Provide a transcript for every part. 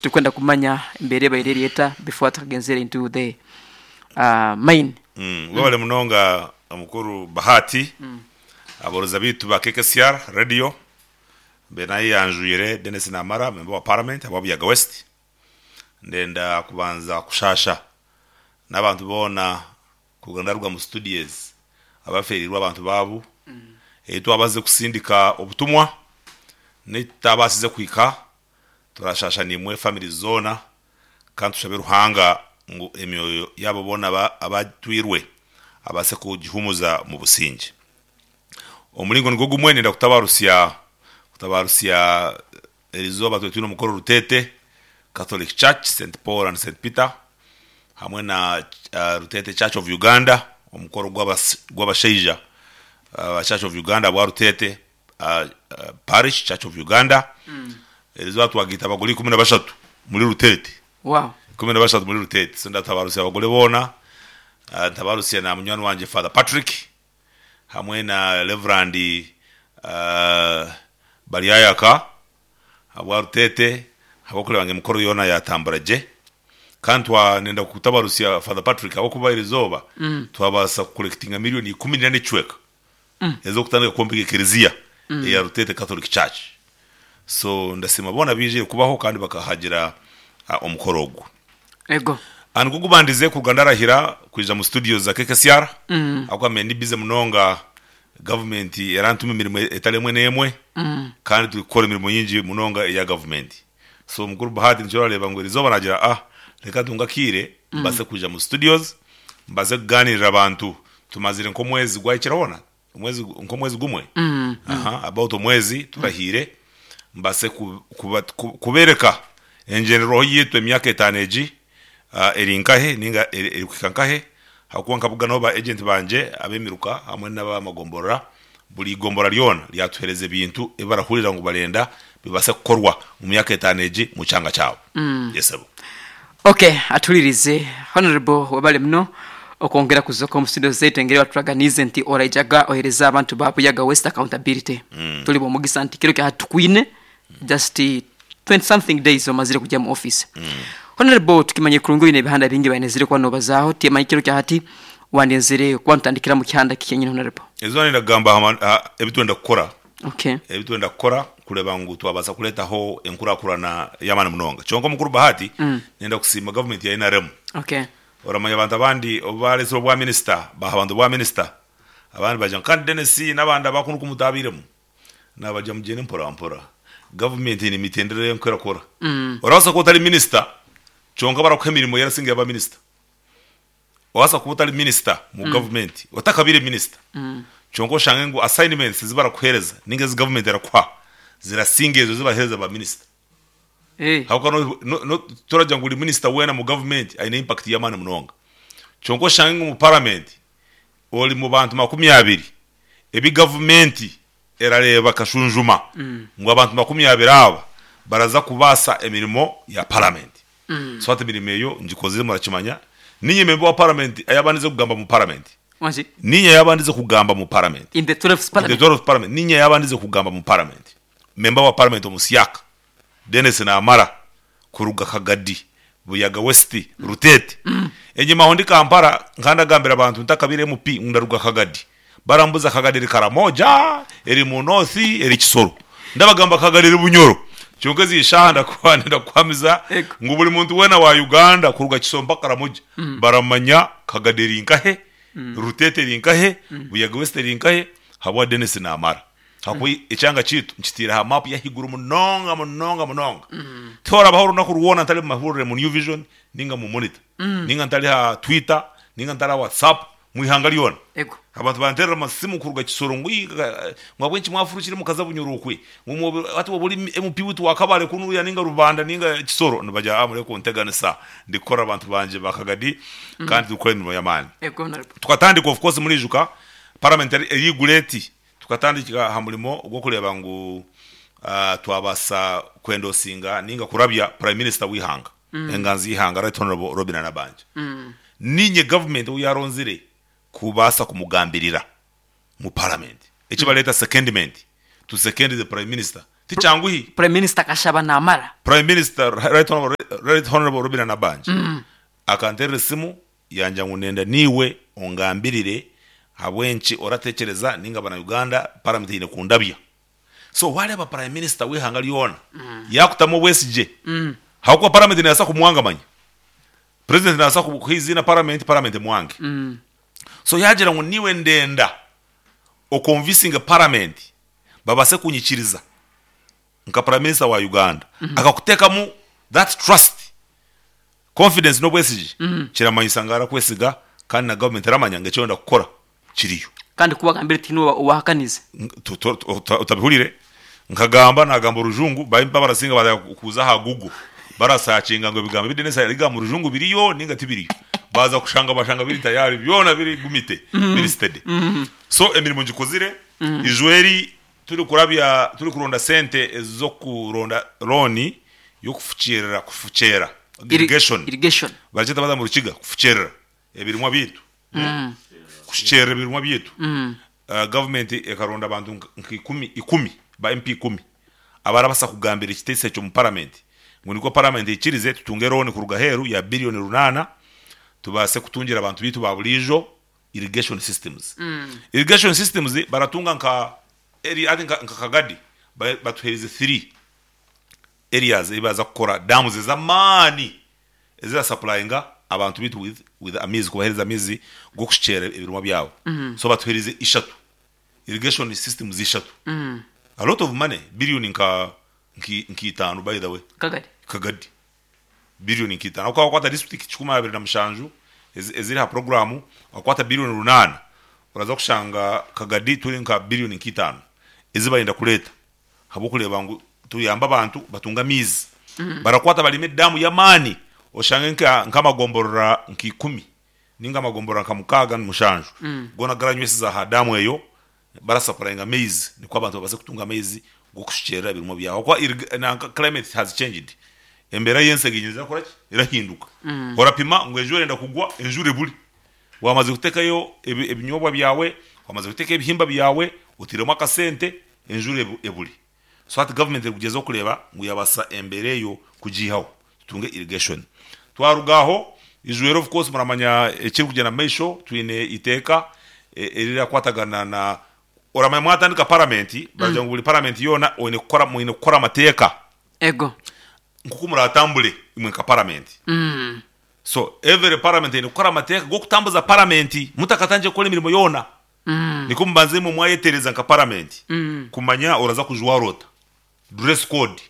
Turikwenda kumanya embeera ebaire eri eta before tukagenzire into the mine. Webale munonga omukuru Bahati, aborozi baitu ba KKCR radio mbe nayeyanjwire Denis Namara member wa parliament ahabwa Buyaga West. Ndenda kubanza kushasha n'abantu boona kuruga ndaruga mu studios abaferirwe abantu baabo ei twabazize kusindika obutumwa n'eitutabaasize kuhika. Turashasha naimwe families zoona kandi tushabe Ruhanga ngu emyoyo yaabo boona abatwirwe abaase kugihumuza omu busingye. Omuringo nigwo gumwe niinyenda kutabarusya kutabarusya erizooba twine twine omukoro Rutete Catholic Church Saint Paul and Saint Peter hamwe na Rutete Church of Uganda omukoro gw'abashaija ba Church of Uganda ahabwa Rutete Parish Church of Uganda erizooba twagaita abagore 13 muri Rutete. Wow. 13 muri Rutete. So ndatabarusya abagore boona, ntabarusya na munywani wangye Father Patrick hamwe na Reverend Baryayaka ahabwa Rutete ahabw'okureeba ngu emikoro yoona yatambura gye. Kandi twa nenda kutabarusya Father Patrick ahabw'okuba erizooba twabaasa kukorekitinga miriyoni 14 n'ekicweka ez'okutandika kwombeka ekereziya eya Rutete Catholic Church. So ndasiima boona abaijire kubaho kandi bakahagira omukoro ogu. Ego. Nigwo gubandize kuruga ndarahira kwija mu studio za KKCR ahabw'okuba mbaire ndi busy munonga gavumenti erantuma emirimo etari emwe n'emwe kandi turikukora emirimo nyingi munonga eya gavumenti. So mukuru Bahati nikyo orareeba ngu erizooba naagira ah reka ntunge akaire mbaase kwija mu studios mbaase kugaaniirira abantu. Tumazire nk'omwezi gwahikire hoona omwezi nk'omwezi gumwe aha about omwezi turahiire mbaase ku- kuba- ku- kubeereka engyenderwaho yaitu emyaka etaano egi ah, eri nkahe ninga eri erikuhika nkahe ahabw'okuba nkabuganaho ba agent bangye ab'emiruka hamwe n'ab'amagomborora Buri igombora ryona ryatuhereza ebintu ebi barahurira ngu barenda bibase kukorwa omu myaka etaano egi omu kyanga kyabo. Yes sebo. Ok atuhuririze Honourable webale muno okwongera kuzoka omu studio zaitu engeri waturaganiize nti oraijaga ohereze abantu ba Buyaga West accountability. Turi bomugisa nti kiro kya hati tukwine just 20 something days omazire kugya omu office. Honourable tukimanyire kurungi oine ebihanda bingi ebi kuba nobazaaho timanya kiro kya hati wandenzire kuba notandikira omu kihanda ki kyenyini Honourable? Eizooba niinyenda kugamba aha aha ebi twenda kukora, Okay. ebi twenda kukora kureeba ngu twabaasa kureetaho enkurakurana y'amaani munonga. Kyonka omukuru Bahati, niinyenda kusiima gavumenti ya NRM. Okay. Oramanya abantu abandi obu baareetsire obwa minisita, baaha abantu obwa minisita, abandi baagira ngu kandi Denis n'abandi abakunu ku mutaabairemu. Naabagira mugyende mpora mpora. Gavumenti eine emitendera ei erikuba erakora. Orabaasa kuba otari minisita kyonka barakuha emirimo erasinga ey'aba minisita. Orabaasa kuba otari minisita mu gavumenti, otakabaire minisita, kyonka oshange ngu assignments ezi barakuheereza ninga ezi gavumenti erakuha zirasinga ezo ezi baraheereza ba minisita. Ahabw'okuba no- no- no- toragira ngu buri minisita weena mu gavumenti aine impact y'amaani munonga. Kyonka oshange ngu omu paramenti ori mu bantu 20 ebi gavumenti erareeba ekashunjuma ngu abantu 20 aba baraza kubaasa emirimo ya paramenti. So hati emirimo eyo ngikozire murakimanya. Niinye memba wa paramenti ayabandize kugamba mu paramenti. Wangi? Niinye ayabandize kugamba mu paramenti. In the 12th In the parliament. 12th parliament. Niinye ayabandize kugamba mu paramenti. Memba wa paramenti omusyaka Denis Namara kuruga Kagadi, Buyaga West, Rutete. Enyima aho ndi Kampala nkaba ndagambira abantu ntakabaire MP ngu ndaruga Kagadi. Barambuza Kagadi eri Karamoja, eri mu North, eri Kisoro. Ndabagamba Kagadi eri Bunyoro. Kyonka ezi shaaha ndakuba nindakuhamiza Ego. ngu buri muntu weena wa Uganda kuruga Kisoro mpaka Karamoja baramanya Kagadi eri nkahe, Rutete eri nkahe, Buyaga West eri nkahe ahabwa Denis Namara. Ahakuba ekyanga kyaitu nkitaire aha maapu y'ahaiguru munonga munonga munonga. Tihorabaho orunaku rwona ntari mu mahurire mu New Vision ninga mu Monitor, ninga ntari aha Twitter, ninga ntari aha WhatsApp, mu ihanga ryona. Ego. Abantu banteerera amasimu kuruga Kisoro ngu "Ii, ngu ahabw'enki mwafurukire mukaza Bunyoro okwe? Ngu mwobe- hati woba ori MP waitu wa Kabale kunuya ninga Rubanda ninga Kisoro." Nibagira ah mureke kunteganisa, ndikukora abantu bangye ba Kagadi kandi turikukora emirimo y'amaani. Ego, Honorable. Tukatandika of course muriijuka parliament erigura eti Tukatandika aha murimo gw'okureeba ngu twabaasa kwendosinga ninga kurabya Prime Minister w'eihanga, enganzi y'eihanga Right Honourable Robinah Nabbanja. Niinye gavumenti ou yaaronzire kubaasa kumugambirira mu Paramenti. Eki bareeta secondment, to second the Prime Minister. Tikyanguhi. Prime Minister akashaba namara. Prime Minister Right Honourable Right Honourable Robinah Nabbanja akanterera esimu yangira ngu nenda niiwe ongambirire ahabw'enki oratekyereza ninga abana Uganda Parliament eine kundabya. So wareeba Prime Minister w'eihanga ryona yakutamu obwesigye ahabw'okuba Parliament nebaasa kumwanga manya. President nabaasa kuha eiziina Parliament, Parliament emwange. So yagira ngu niiwe ndenda okonvisinge Parliament babaase kunyikiriza nka Prime Minister wa Uganda, akakutekamu that trust, confidence n'obwesigye, kiramanyisa ngu arakwesiga kandi na government eramanya ngu eki orenda kukora kiriyo. Kandi ku wagambire tihaine owahakanize. Otabihurire, nkagamba nagamba orujungu, ba barasinga baaza kuza aha Google barasakinga ngu ebigambo ebi Denis arikugamba omu rujungu biriyo ninga tibiriyo. Baaza kushanga bashanga biri tayari byona biri gumite, biri steady. So emirimo ngikozire, ijo eri turikurabya turikuronda sente ez'okuronda looni y'okufukiirira, kufukyera, irrigation, Irrigation. barakyeta baza omu Rukiga kufukyerera ebirimwa byaitu, kushukyerera ebirimwa byaitu. Gavumenti ekaronda abantu nka ikumi, ba MP ikumi abarabasa kugambira ekiteeso ekyo omu paramenti ngu nikwo paramenti eikirize tutunge looni kuruga aheeru ya biriyoni runaana tubaase kutungira abantu baitu ba buriijo irrigation systems. Irrigation systems baratunga nka area hati nka Kagadi batuheerize three areas ei baraza kukora dams ez'amaani ezirasupplyinga abantu baitu with with amaizi kubaheereza amaizi g'okushukyera ebirimwa byabo. So batuheerize ishatu irrigation systems ishatu. A lot of money billion nka nka itaano by the way. Kagadi. Kagadi. Billion nka itaano. Ahabw'okuba wakwata district kikumi abiri na mushanju eziri aha puroguraamu, wakwata billion runaana, oraza kushanga Kagadi turi nka billion nka itaano ezi barenda kureeta ahabw'okureeba ngu tuyambe abantu batunge amaizi. Barakwata barime daamu y'amaani oshange nk'amagomborora nka ikumi ninga amagomborora nka mukaaga mushanju goona garanywesize aha daamu eyo barasapurayinga amaizi nikwo abantu babaase kutunga amaizi g'okushukyerera ebirimwa byabo ahabw'okuba irrig nanka climate has changed embeera y'ensi eginyire erakora ki erahinduka orapima ngu enjura erenda kugwa enjura ebure wamaze kutekayo ebi ebinyobwa byawe wamaze kutekayo ebihimba byawe otiremu akasente enjura ebure so hati government erikugyezaho kureeba ngu yabaasa embeera eyo kugiihaho tutunge irrigation twaruga aho ijwero of course muramanya ekirikugyenda omu maisho twine eiteeka erirakwatagana na oramanya mwatandika parliament baragira ngu buri parliament yoona oine kukora mwine kukora amateeka Ego. nkoku muratambure imwe nka parliament so every parliament eine kukora amateeka g'okutambuza parliament mutakatandikire kukora emirimo yoona Nikwo mubanze imwe mwayetereza nka paramenti kumanya oraza kujwara ota, dress code,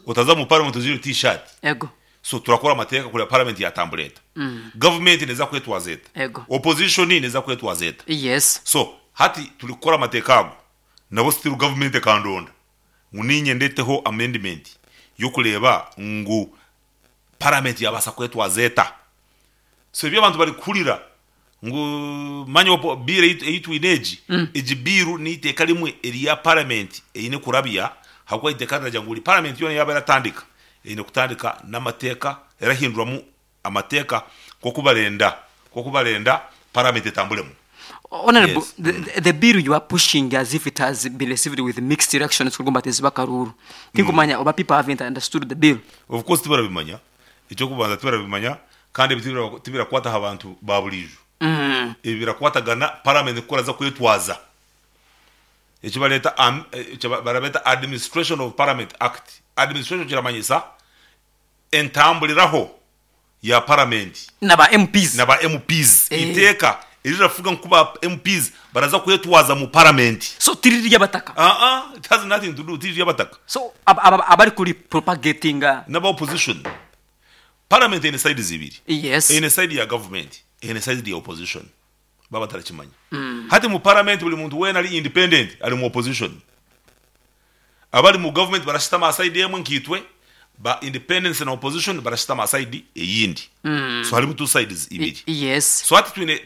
otaza mu paramenti ojwaire t-shirt. Ego. So turakora amateeka kureba paramenti yatambura eta, gavumenti neza kwetwaza eta, Ego. opposition neza kwetwaza eta. Yes. So hati turi kukora amateeka ago nabo still gavumenti ekandonda ngu ninye ndeteho amendment yokureba ngu paramenti yabaasa kwetwaza eta. So ebi abantu bari kuhurira ngu manya opo bill ei twine egi, egi bill n'eiteeka rimwe erya parliament eine kurabya ahabw'okuba eiteeka riragira ngu buri parliament yoona yaaba eratandika eine kutandika n'amateeka erahinduramu amateeka nk'oku barenda nk'oku barenda parliament etamburemu. Honourable, Yes. the bill you are pushing as if it has been received with mixed reactions kugamba ati eziba akaruuru. Tinkumanya oba people haven't understood the bill. Of course tibarabimanya, eky'okubanza tibarabimanya Kandi ebi tibirakwata aha bantu ba buriijo. Ebi birakwatagana paramenti ku eraza kwetwaza. Eki bareeta barabeeta Administration of Parliament Act. Administration kiramanyisa entamburiraho ya paramenti. Na ba MPs. Na ba MPs. Eiteeka erirafuga nku ba MPs baraza kwetwaza mu paramenti. So tiriri ry'abataka? Aa, it has nothing to do, tiriri ry'abataka. So abari kuri propagatinga. N'aba opposition. Parliament eine sides ibiri. Yes. Eine side ya government, eine side ya opposition. Baba batarakimanya. Hati mu parliament buri muntu weena ari independent ari mu opposition. Abari mu government barashutama aha side emwe nkaitwe, ba independents na opposition barashutama aha side eyindi. So harimu two sides ibiri. Yes. So hati twine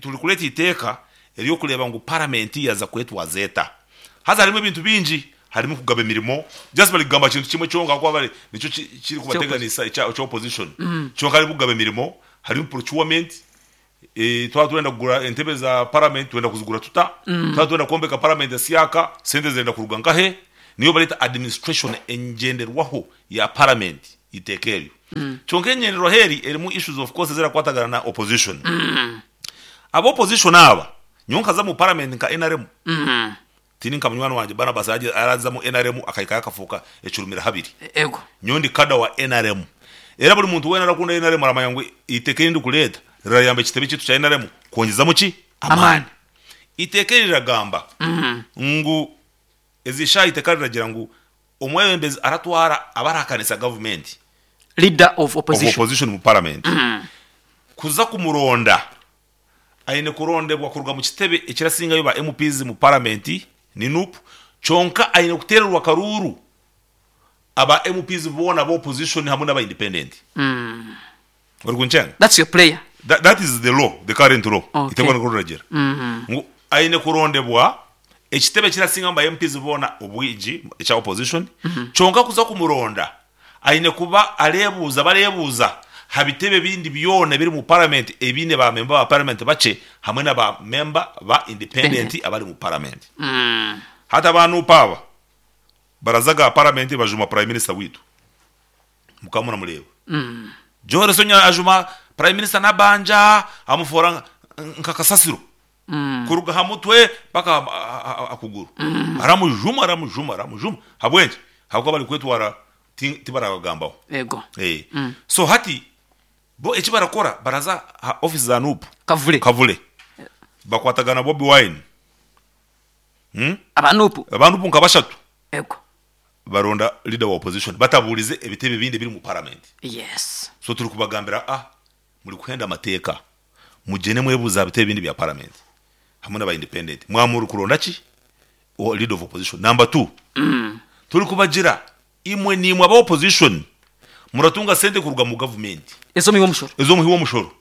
turi kureeta eiteeka ery'okureeba ngu parliament yaza kwetwaza eta. Haza harimu ebintu bingi, harimu kugaba emirimo, just bari kugamba kintu kimwe kyonka ahakuba bari nikyo kirikubateganisa ekya opposition. Kyonka harimu kugaba emirimo, harimu procurement, twaba turenda kugura entebe za parliament turenda kuzigura tuta? Twaba turenda kwombeka parliament esyaka, sente zirenda kuruga nkahe? Niyo bareeta administration engyenderwaho ya parliament eiteeka eryo. Kyonka engyenderwaho eri erimu issues of course ezirakwatagana na opposition. Aba opposition aba, nyowe nkaza mu parliament nka nrm, Tindi nka munywani wangye Barnabas arazamu nrm akahikayo akafuuka ekirumira habiri. Ego. Nyowe ndi kada wa nrm. Era buri muntu weena arakunda nrm aramanya ngu eiteeka eri ndikureeta rirayamba ekitebe kyaitu kya nrm kwongyezamu ki? Amaani. Eiteeka eri riragamba ngu ezi shaaha eiteeka riragira ngu omwebembezi aratwara abarahakanisa gavumenti, Leader of of opposition. opposition mu paramenti kuza kumuronda Aine kurondebwa kuruga mu kitebe ekirasingayo ba MPs mu Paramenti ni nup kyonka aine kuteererwa akaruuru aba MPs boona aba opposition hamwe n'aba independent. Orikunkyenga? That's your prayer. That, that is the law, the current law. Okay. Iteekwa nikwo riragira. Ngu aine kurondebwa ekitebe ekirasingamu ba MPs boona obwingi ekya opposition kyonka kuza kumuronda Aine kuba areebuuza bareebuuza ha bitebe ebindi byona ebiri mu Paramenti ebiine ba memba ba Paramenti bakye hamwe na ba memba ba independenti abari mu Paramenti. Hati aba nup aba baraza ga Paramenti bajuma Prime Minister waitu. Mukaba muramureeba. Joel Ssenyonyi ajuma Prime Minister Nabbanja amufoora nka kasasiro. Kuruga aha mutwe mpaka aha kuguru. Aramujuma, aramujuma, aramujuma. Ahabw'enki? Ahabw'okuba barikwetwara tibarabagambaho. Ego. So hati bo eki barakora baraza aha office za Nup. Kavule. Kavule. Bakwatagana na Bobi Wine. Aba Nup. Aba Nup nka bashatu. Ego. Baronda leader wa opposition batabuurize ebitebe ebindi ebiri omu parliament. Yes. So turikubagambira ah Murikuhenda amateeka, mugyende mwebuuze aha bitebe ebindi bya paramenti hamwe n'aba independent. Mwaba murikuronda ki? Leader of opposition. Number two, turikubagira imwe niimwe aba opposition muratunga sente kuruga mu gavumenti. Ez'omuhi w'omushoro. Ez'omuhi w'omushoro.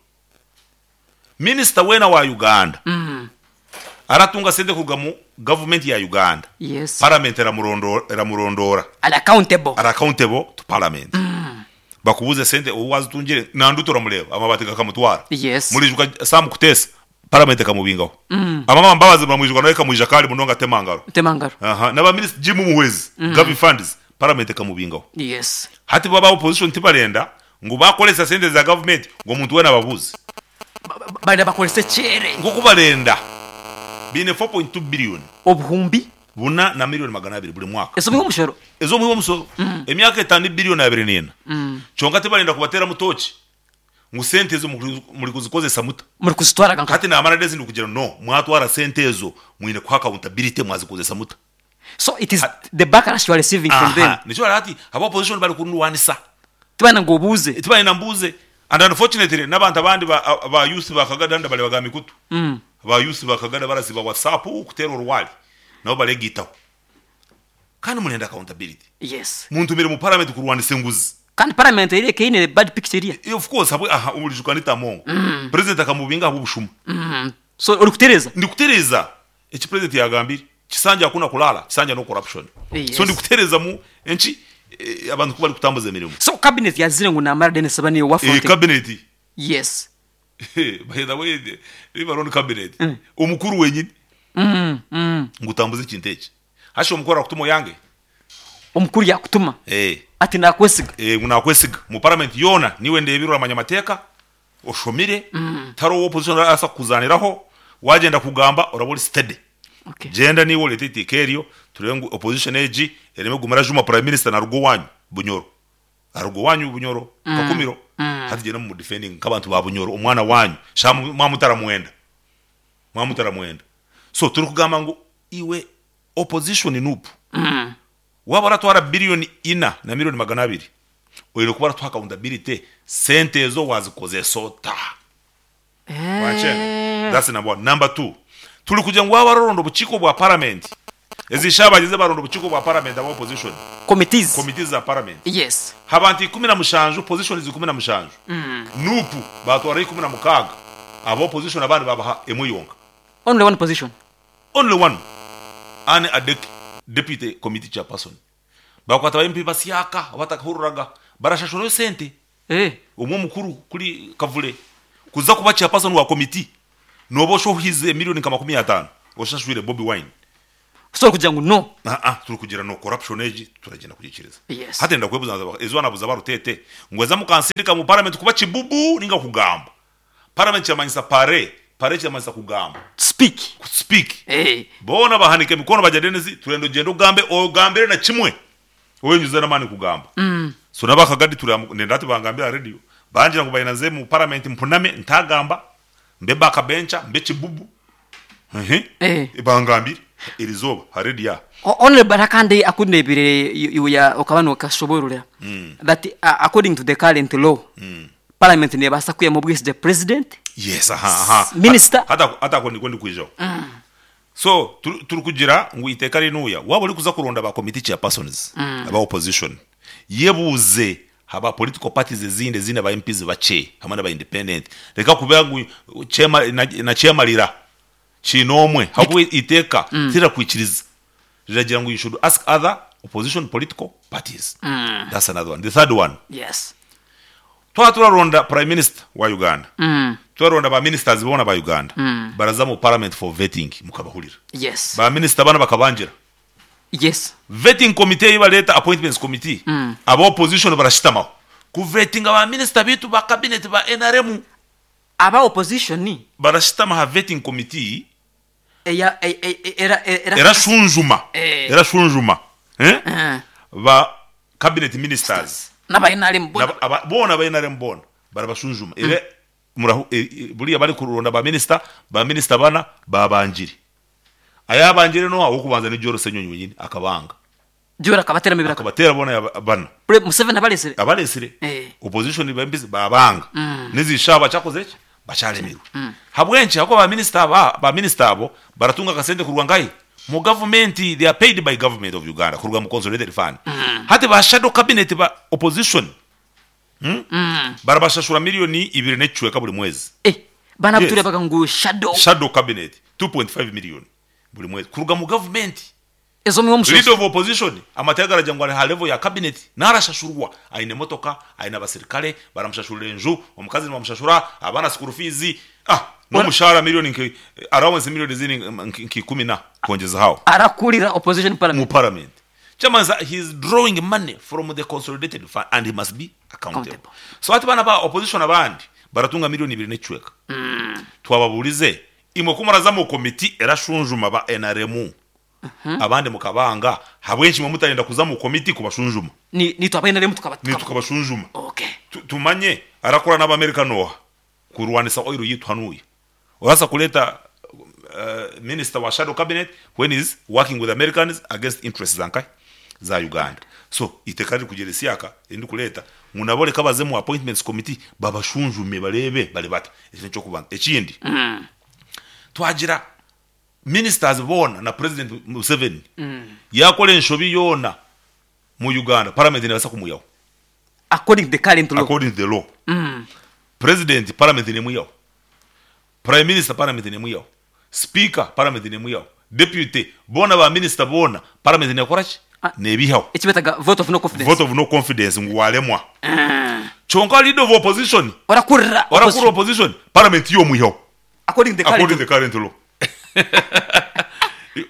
Minisita weena wa Uganda aratunga sente kuruga mu gavumenti ya Uganda, Yes. paramenti eramurondoora. Ari accountable. Ari accountable to parliament. Bakubuuze esente obu waazitungire, Nandutu oramureeba, amabaati gakamutwara. Yes. Muriijuka Sam Kutesa, parliament ekamubingaho. Amama Mbabazi muramwijuka nawe ekamwija kare munonga atema ngaro. Tema ngaro. Aha, n'aba minisita Jim Muhwezi, Gavi funds, parliament ekamubingaho. Yes. Hati bo aba opposition tibarenda ngu baakoresa sente za gavumenti ngu omuntu weena ababuuze. Barenda bakorese kyere. Nk'oku barenda, baine 4.2 billion. Obuhumbi. Buna na milioni 200 buri mwaka. Ez'omuhi w'omushoro. Ez'omuhi w'omushoro. Emyaka etaano ni bilioni 24. Kyonka tibarenda kubateeramu tooki ngu sente ezo murikuzikozesa muta. Murikuzitwara nka. Hati naamara days ndikugira ngu no, mwatwara sente ezo mwine kuha accountability mwazikozesa muta. So it is the backlash you are receiving from them. Aha, nikyo bari hati aba opposition bari kundwanisa. Tibarenda ngu obuuze. Tibarenda mbuuze. And unfortunately n'abantu abandi ba ba youth ba Kagada ndabareeba ga mikutu. Ba youth ba Kagada barasiiba WhatsApp kuteera orwari nabo bareegaitaho. Kandi murenda accountability. Yes. Muntumire mu parliament kurwanisa enguzi. Kandi parliament eri eine bad picture eriya. Of course habwe aha orijuka Anita Among. President akamubinga ahabw'obushuma. So orikutereeza? Ndikutereeza. Eki president yagambire kisanja hakuna kulala kisanja no corruption Yes. so ndikuterezamu enki abantu kubarikutambuza emirimo. So cabinet yazire ngu namara Denis aba niiwe wa fronting. Cabinet. Yes. By the way leave alone cabinet omukuru wenyini ngu tambuza ekintu eki hashi omukuru arakutuma oyange? Omukuru yakutuma ati nakwesiga. Ngu nakwesiga omu parliament yoona niiwe ndebire oramanya amateeka Oshomire, tihariho owa opposition arabaasa kukuzaaniraho, waagyenda kugamba oraba ori steady. Okay. Gyenda naiwe oreete eiteeka eryo tureebe ngu opposition egi ereme kuguma erajuma Prime Minister naruga owaanyu Bunyoro. Aruga owaanyu Bunyoro, Kakumiro. Hati gyenda mumu defendinge nk'abantu ba Bunyoro, omwana waanyu. Shaaha mwaba mutaramwenda. Mwaba mutaramwenda. So turikugamba ngu iwe opposition Nup, Waaba oratwara biliyoni ina na milioni 200, oine kuba oratuha accountability, sente ezo wazikozesa ota? Wankyenga? That's number one. Number two, turi kugira ngu waaba ororonda obukiiko bwa paramenti, ezi shaaha bagyeze baronda obukiiko bwa paramenti aba opposition, Committees. committees za paramenti, Yes. abantu 17, positions 17, Nup baatwaraho 16, aba opposition abandi baabaha emwe yonka. Only one position. Only one Anne Adeke deputy committee chairperson bakwata ba MP basyaka abatakahuriraga barashashurayo sente omwe omukuru kuri Kavule kuza kuba chairperson wa committee noba oshohize million nka 50 oshashwire Bobi Wine. Kusobola kugira ngu no. Aa turi kugira no corruption egi turagyenda kugiikiriza. Yes. Hati nenda kwebuza nza eizooba nabuza Barutete ngu eza mukansindika mu parliament kuba kibubu ninga kugamba. Parliament kiramanyisa pare, pare kiramanyisa kugamba. To speak. Ku speak. Eh. Boona bahanika emikono bagira Denis turenda ogyende ogambe ogambire na kimwe oyenyuze n'amaani kugamba. So n'abakagadi turi aha nenda hati bangambire aha radio bangira ngu baina nze mu parliament mpuname ntagamba mbe back bencher mbe kibubu. Ehe. Eh. Bangambire erizooba ha radio aha. Honourable hariho akandi aku ndeebire iwe ya okaba nokashoboorora that according to the current law parliament neebaasa kwihamu obwesigye president, Yes, aha, aha. minister. Hati ako- hati ako nikwo ndikwijaho. So turi turikugira ngu eiteeka rinuuya waaba orikuza kuronda ba committee chairpersons aba opposition yebuuze ha ba political parties ezindi eziine ba MPs bakye hamwe naba independent reka kuba ngu kyema na nakyemarira kiine omwe ahabw'okuba eiteeka tirirakwikiriza riragira ngu you should ask other opposition political parties that's another one. The third one. Yes. Twaba turaronda Prime Minister wa Uganda, turaronda ba ministers boona ba Uganda, baraza mu parliament for vetting mukabahurira. Yes. Ba minister bana bakabangira. Yes. Vetting committee ei bareeta appointments committee, aba opposition barashitamaho ku vettinga ba minister baitu ba cabinet ba nrm. Aba opposition. Barashitama aha vetting committee. Eya era era. Erashunjuma, erashunjuma ba cabinet ministers. N'aba nrm boona. Boona aba nrm boona barabashunjuma. Era murahu buriya barikuronda ba minister, ba minister bana babangire. Ayabangire n'oha? Ow'okubanza ni Joel Ssenyonyi wenyini akabanga. Joel akabateeramu ebiraka. Akabateera boona yaba bana. Pre Museveni abareetsire. Abareetsire. Eh. Opposition ba MPs baabanga. N'ezi shaaha bakyakozire ki? Bakyaremirwe. Habw'enki? Ahabw'okuba ba minister aba, ba minister abo baratunga akasente kuruga nkahi? Mu gavumenti. They are paid by government of Uganda kuruga mu consolidated fund. Hati ba shadow cabinet ba opposition Barabashashura miriyoni ibiri n'ekicweka buri mwezi. Eh, bana abu Yes. tureebaga ngu shadow. Shadow cabinet 2.5 million buri mwezi kuruga mu gavumenti. Ezo omuhe omushozi. Leader of opposition amateeka garagira ngu ari aha level ya cabinet narashashurwa aine emotoka, aine abasirikare, baramushashurira enju, omukazi nibamushashura, abaana school fees, ah n'omushaara million nka allowance million ezindi nka ikumi na kwongyezaho aho. Arakurira opposition Mu parliament. parliament. Kyamanisa he is drawing money from the consolidated fund and he must be accountable. Accountable. So hati banu aba opposition abandi baratunga million ibiri n'ekicweka. Twababuurize imwe ku muraza mu committee erashunjuma ba nrm abandi mukabanga habw'enki imwe mutarenda kuza mu committee kubashunjuma? Ni nitwe aba nrm tukaba Nitwe tukabashunjuma. Okay. Tumanye arakora n'Abamerika n'oha kurwanisa oil yitu hanuya. Orabaasa kureeta minister wa shadow cabinet when he is working with Americans against interests za nkahi? Za Uganda. So eiteeka ririkugira esyaka erindikureta ngu nabo reka baze mu appointments committee babashunjume bareebe bari bata. Ekyo nekyokubanza. Ekindi, twagira ministers boona na president Museveni yakora enshobi yoona mu Uganda parliament nebaasa kumwihaho. According to the current law. According to the law. President parliament nemwihaho, Prime Minister parliament nemwihaho, Speaker parliament nemwihaho, Deputy boona ba minister boona parliament nekora ki? Nebihaho. Eki beetaga vote of no confidence. Vote of no confidence ngu waremwa. Kyonka leader of opposition, Orakurira orakurira opposition, parliament yo omwihaho. According to the current According to the current law.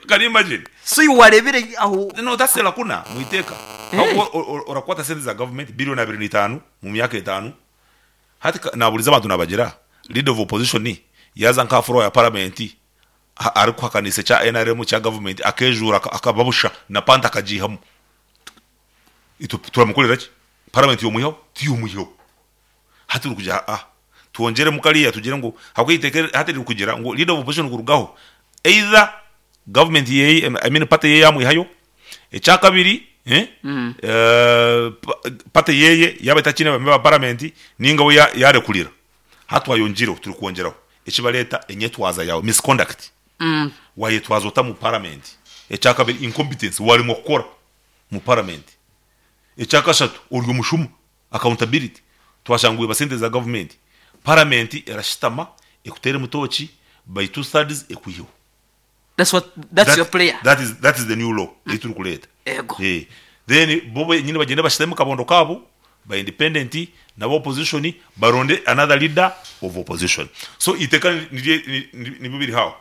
Can you imagine? So iwe wareebire aho. No, that's a lacuna mu iteeka. Ahabw'okuba orakwata sente za government billion abiri na itaano mu myaka etaano, hati naburiza abantu nabagira, leader of opposition yaaza nk'aha floor ya parliament arikuhakanisa ekya nrm ekya government akejuura akaba busha na pant akagiihamu, itwe turamukorera ki? Parliament yomwihaho? Tiyomwihaho. Hati orikugira aa twongyeremu kariya tugire ngu ahabw'okuba eiteeka hati ririkugira ngu leader of opposition kurugaho either government yeye I mean party yeye yamwihayo, ekyakabiri party yeye yaba etakiine ba member ba parliament ninga we yarekurira. Hati twayongyireho turikwongyeraho ekibareeta enyetwaza yaawe misconduct wayetwaza ota mu parliament, ekyakabiri incompetence waremwa kukora mu parliament, ekyakashatu ori omushuma Accountability, Twashanga oiba sente za gavumenti, paramenti erashitama ekuteeremu tooki by two thirds ekwiheho. That's what, that's your prayer. That is, that is the new law ei turikureeta. Ego. Eh, then bo benyini bagyende bashitame kabondo kaabo ba independent naba opposition baronde another leader of opposition. So eiteeka niryo nibyo biri aho.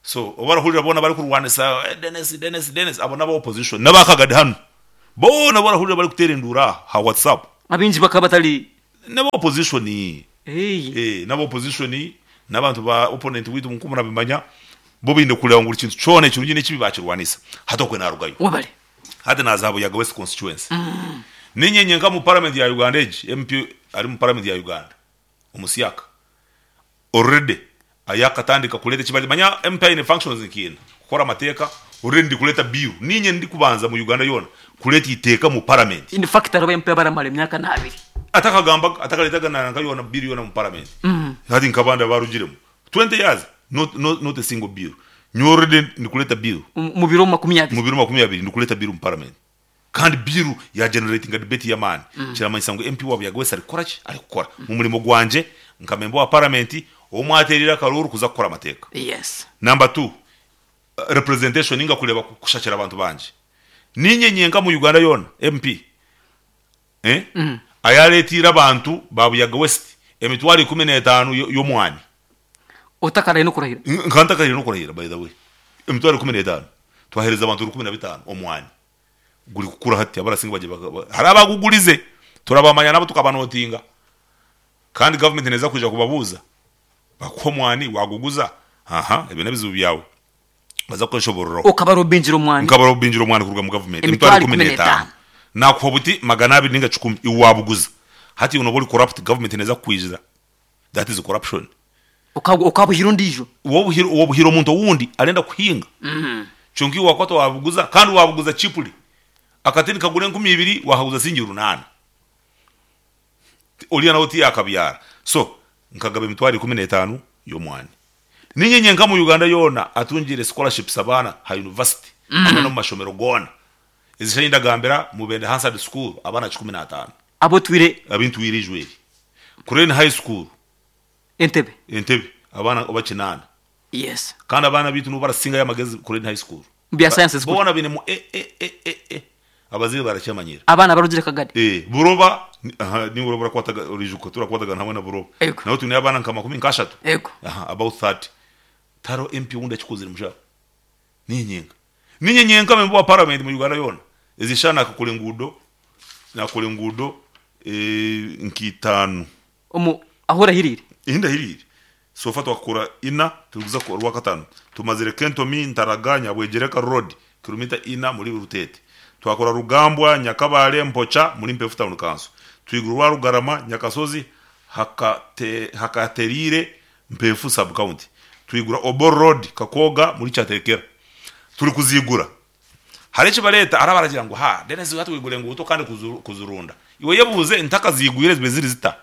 So obu barahurira boona barikurwanisa eh, Denis, Denis, Denis, abo n'aba opposition n'aba Kagadi hanu boona obu barahurira barikuteera enduuru aha ha WhatsApp Abaingi bakaba batari. N'aba opposition. Eeh. Eh, n'aba opposition n'abantu ba opponent waitu nk'oku murabimanya bo baine kureeba ngu buri kintu kyona ekirungi n'ekibi baakirwanisa. Hati okwe naarugayo. Webale. Hati naaza aha Buyaga West constituency. Niinye nyenka omu parliament ya Uganda egi, MP ari omu parliament ya Uganda omusyaka already ayakatandika kureeta eki bari manya MP aine functions nka ina, kukora amateeka, already ndi kureeta bill, niinye ndikubanza mu Uganda yoona kureeta eiteeka mu parliament. In fact hariho ba MP abaramara emyaka n'abiri. Atakagambaga, atakareetaga na nka yoona bill yoona omu parliament. Hati nk'abandi abarugiremu 20 years not, not, not a single bill. Nyowe already ndikureeta bill. Omu biro 20. Mu biro 20 ndikureeta bill mu parliament. Kandi bill ya generatinga debate y'amaani. Kiramanyisa ngu MP wa Buyaga West arikukora ki? Arikukora. Mu murimo gwangye nka member wa parliament ou mwateereire akaruuru kuza kukora amateeka. Yes. Number two, representation ninga kureeba kushakira abantu bangye. Niinye nyenka mu Uganda yoona MP eh, ayareeteire abantu ba Buyaga West emitwaro 15 y'omwani. Otakaraire n'okurahira. Nkaba ntakaraire n'okurahira by the way. Emitwaro 15 twaheereza abantu 15 omwani. Gurikukura hati abarasinga bagye hariho abagugurize turabamanya nabo tukabanotinga kandi government neza kwija kubabuuza bakuha omwani waguguza aha ebyo nebizibu byawe baza kukweshoboreraho. Okabarobingira omwani. Nkabarobingira omwani kuruga mu government emitwaro 15 nakuha buti 200 ninga 10 iwe wabuguza hati iwe noba ori corrupt government neza kukwijira that is corruption. Okabuhira ondiijo. Wobuhira omuntu owundi arenda kuhinga kyonka iwe wakwata wabuguza kandi wabuguza cheaply akati nikagura 2000 wakaguza siringi 800 oriya nawe tiyakabyara so nkagaba emitwaro 15 y'omwani. Ninye nyenka omu Uganda yoona atungiire scholarships abaana ha university hamwe n'omu mashomero goona. Ezi shaaha ndagambira Mubende Hansard School abaana 15. Abu otwire. Abu ntwire Ijweri. Crane High School. Entebe. Entebe abaana oba kinaana. Yes. Kandi abaana baitu nibo barasingayo amagezi Crane High School. Mu bya sciences kuri. Boona bainemu A, A, A, A, A. Abazaire barakyamanyira. Abaana abarugire Kagadi. Eh, Buroba, aha, niiwe oraba orakwataga, oriijuka turakwatagana hamwe na Buroba. Ego. Nawe twineyo abaana nka makumi nk'ashatu. Ego. Aha, about 30. Tihariho MP owundi akikozire mushaho. Niinye nyenka. Niinye nyenka member wa parliament mu Uganda yoona. Ezi shaaha naakakora enguudo, naakora enguudo nka itaano. Omu ahu orahiriire? Ehi ndahiriire. So far twakakora ina, turikuza orwakataano. Tumazire Kentomi, Ntaraga, Nyabwegyereka road, kilomita ina muri Ruteete. Twakora Rugambwa, Nyakabale, Mpocha muri Mpefu Town Council. Twigura orwa Rugarama, Nyakasozi, Hakateriire, Mpefu Sub County. Twigura Obor Road, Kakooga muri Kyaterekera. Turikuzigura. Hariho ekibareeta hariho abaragira ngu haa Denis hati waigura enguuto kandi kuzirunda. Iwe yebuuze ntakazigwire zibe ziri zita?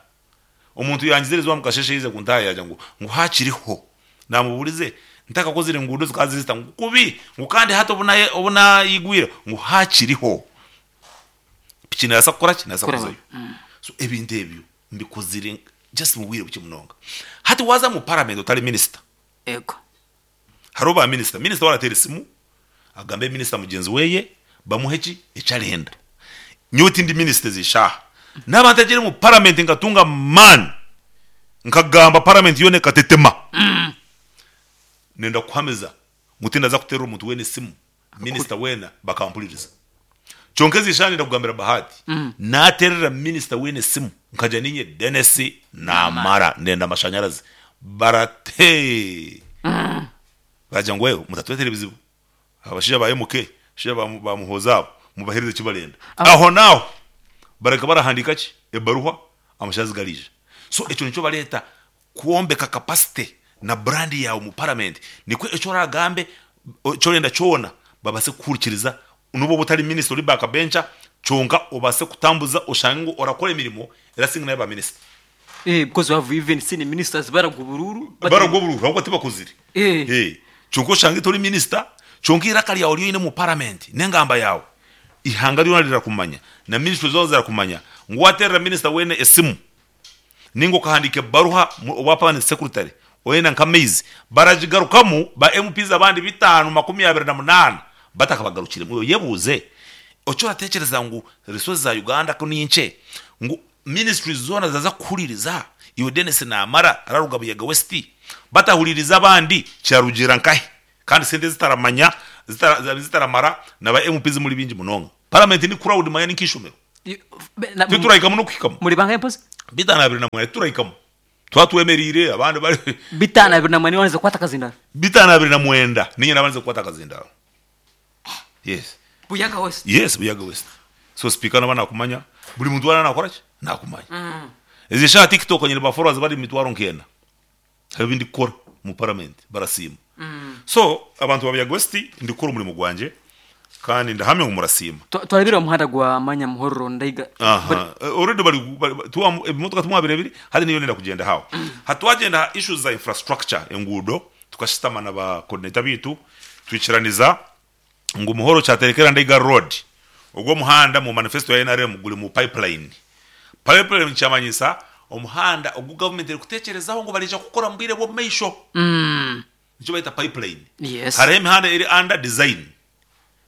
Omuntu yangizire eizooba mukasheeshe yaiza kuntaaha yaagira ngu ngu haakiriho. Naamubuurize ntakakozire nguudo zikaba ziri zita? Ngu kubi ngu kandi hati obu naayigwire ngu haakiriho. Piki neebaasa kukora ki? Neebaasa kuzayo. So ebintu ebyo mbikozire just mu bwire bukye munonga. Hati waaza omu paramenti otari minisita. Ego. Hariho ba minisita, minisita we arateera esimu agambe minisita mugyenzi weye bamuhe ki eki arenda. Nyowe tindi minisita ezi shaaha. Naaba ntagiire omu paramenti nkatunga amaani nkagamba paramenti yoona ekatetema, nenda kukuhamiza ngu tindaza kuteerera omuntu weena esimu, minisita weena bakampuririza. Kyonka ezi shaaha nenda kugambira Bahati, naateerera minisita weena esimu nkagira niinye Denis Namara ndenda amashanyarazi, barate baragira ngu wewe mutatureetera ebizibu, abashaija ba MK, abashaija ba Muhoozi abo mubaheereze eki barenda. Ahonaaho bareka barahandiika ki? Ebaruha amashanyarazi gariija. So ekyo nikyo bareeta Kwombeka capacity na brand yaawe omu parliament nikwo eki oragambe eki orenda kyona babase kukuhurikiriza nobu oba otari minister ori back bencher kyonka obase kutambuza oshange ngu orakora emirimo erasinga neya ba minister. Eh, because we have even seen ministers baragwa oburuuru Baragwa oburuuru ahabw'okuba tibakuzire. Eh. Eh, kyonka oshange tori minister kyonka eiraka ryawe ryonyine omu parliament n'engamba yaawe eihanga ryona rirakumanya na ministry zoona zirakumanya ngu wateerera minister weena esimu Nainga okahandiika ebaruha owa permanent secretary orenda nk'amaizi, baragigarukamu ba MPs abandi bitaano 28 batakabagarukiremu. Oyebuuze eki oratekyereza ngu resources za Uganda ku ni nkye ngu ministries zoona ziraza kukuhuririza iwe Denis Namara araruga Buyaga West batahuririze abandi kirarugiirira nkahi? Kandi sente zitaramanya zitara zitaramara na ba MPs muri bingi munonga. Parliament ni crowd manya ni nk'ishomero. Titurahikamu n'okuhikamu. Muri bangahe mpozi? 529 titurahikamu. Twaba twemereire abandi bari. 529 niwe wabandize kukwata akazindaro? 529 niinye naabandize kukwata akazindaro. Yes. Buyaga West? Yes, Buyaga West. So sipiika naaba naakumanya, buri muntu waaba naakora ki? Naakumanya. Ezi eshaaha TikTok nyine ba followers bari emitwaro nk'ena. Hariho ebi ndikukora omu parliament barasiima. So abantu ba Buyaga West ndikukora omurimo gwangye kandi ndahamya ngu murasiima. Twarebire omuhanda gwa Manya Muhororo Ndaiga. Aha, already bari bari tuwa ebimotoka timwabirebire hati niyo ndenda kugyenda aho. Hati twagyenda aha issues za infrastructure enguudo tukashutama na ba coordinator biitu twikiraniza ngu Muhoro Kyaterekera Ndaiga Road ogwo omuhanda mu manifesto ya nrm guri mu pipeline. Pipeline nikyamanyisa omuhanda ogu government erikutekyerezaho ngu bariija kukora mu bwire bw'omu maisho. Nikyo bayeta pipeline. Yes. Hariho emihanda eri under design.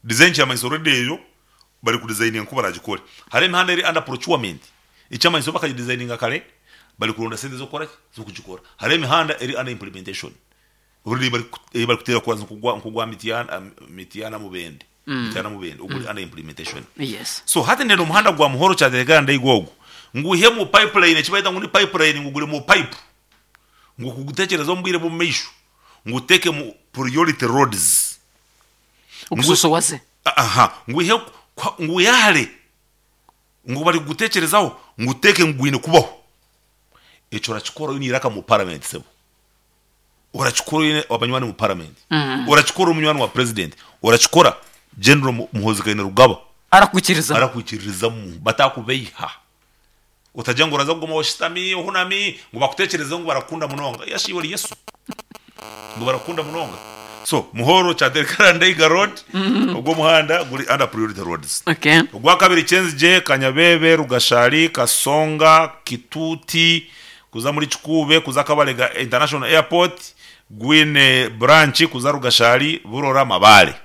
Design kyamanyisa already eyo bari ku designinga nku baragikore. Hariho emihanda eri under procurement ekyamanyisa bo bakagidesigninga kare bari kuronda sente z'okukora ki? Z'okugikora. Hariho emihanda eri under implementation already ei barikuteera kuraza nk'ogwa Mityana Mityana Mubende Mityana Mubende oguri under implementation. Yes. So hati ndenda omuhanda gwa Muhoro Kyaterekera Ndaiga ogu nguihe mu pipeline eki bayeta ngu ni pipeline ngu guri mu pipe ngu kugutekyereza omu bwire bw'omu maisho nguteeke mu priority roads. Ogusosowaze. Aha, ngwihe ngwihe hare ngu barikuguteekyerezaho nguteeke ngu gwine kubaho. Ekyo orakikora oine eiraka mu paramenti sebo. Orakikora oine abanywani omu paramenti. Orakikora ori munywani wa purezidenti. Orakikora General Muhoozi Kainerugaba Arakwikiririzamu. arakwikiririzamu batakubeiha. Otagira ngu oraza kuguma oshutami ohunami ngu bakuteekyerezeho ngu barakukunda munonga. Yashi iwe ori Yesu ngu barakukunda munonga. So Muhoro Kyaterekera Ndaiga Road ogwo omuhanda guri under priority roads. Okay. Ogwakabiri Kyenzigye, Kanyabebe, Rugashari, Kasonga, Kituuti kuza muri Kikuube kuza Kabalega International Airport gwine branch kuza Rugashari, Burora, Mabaale.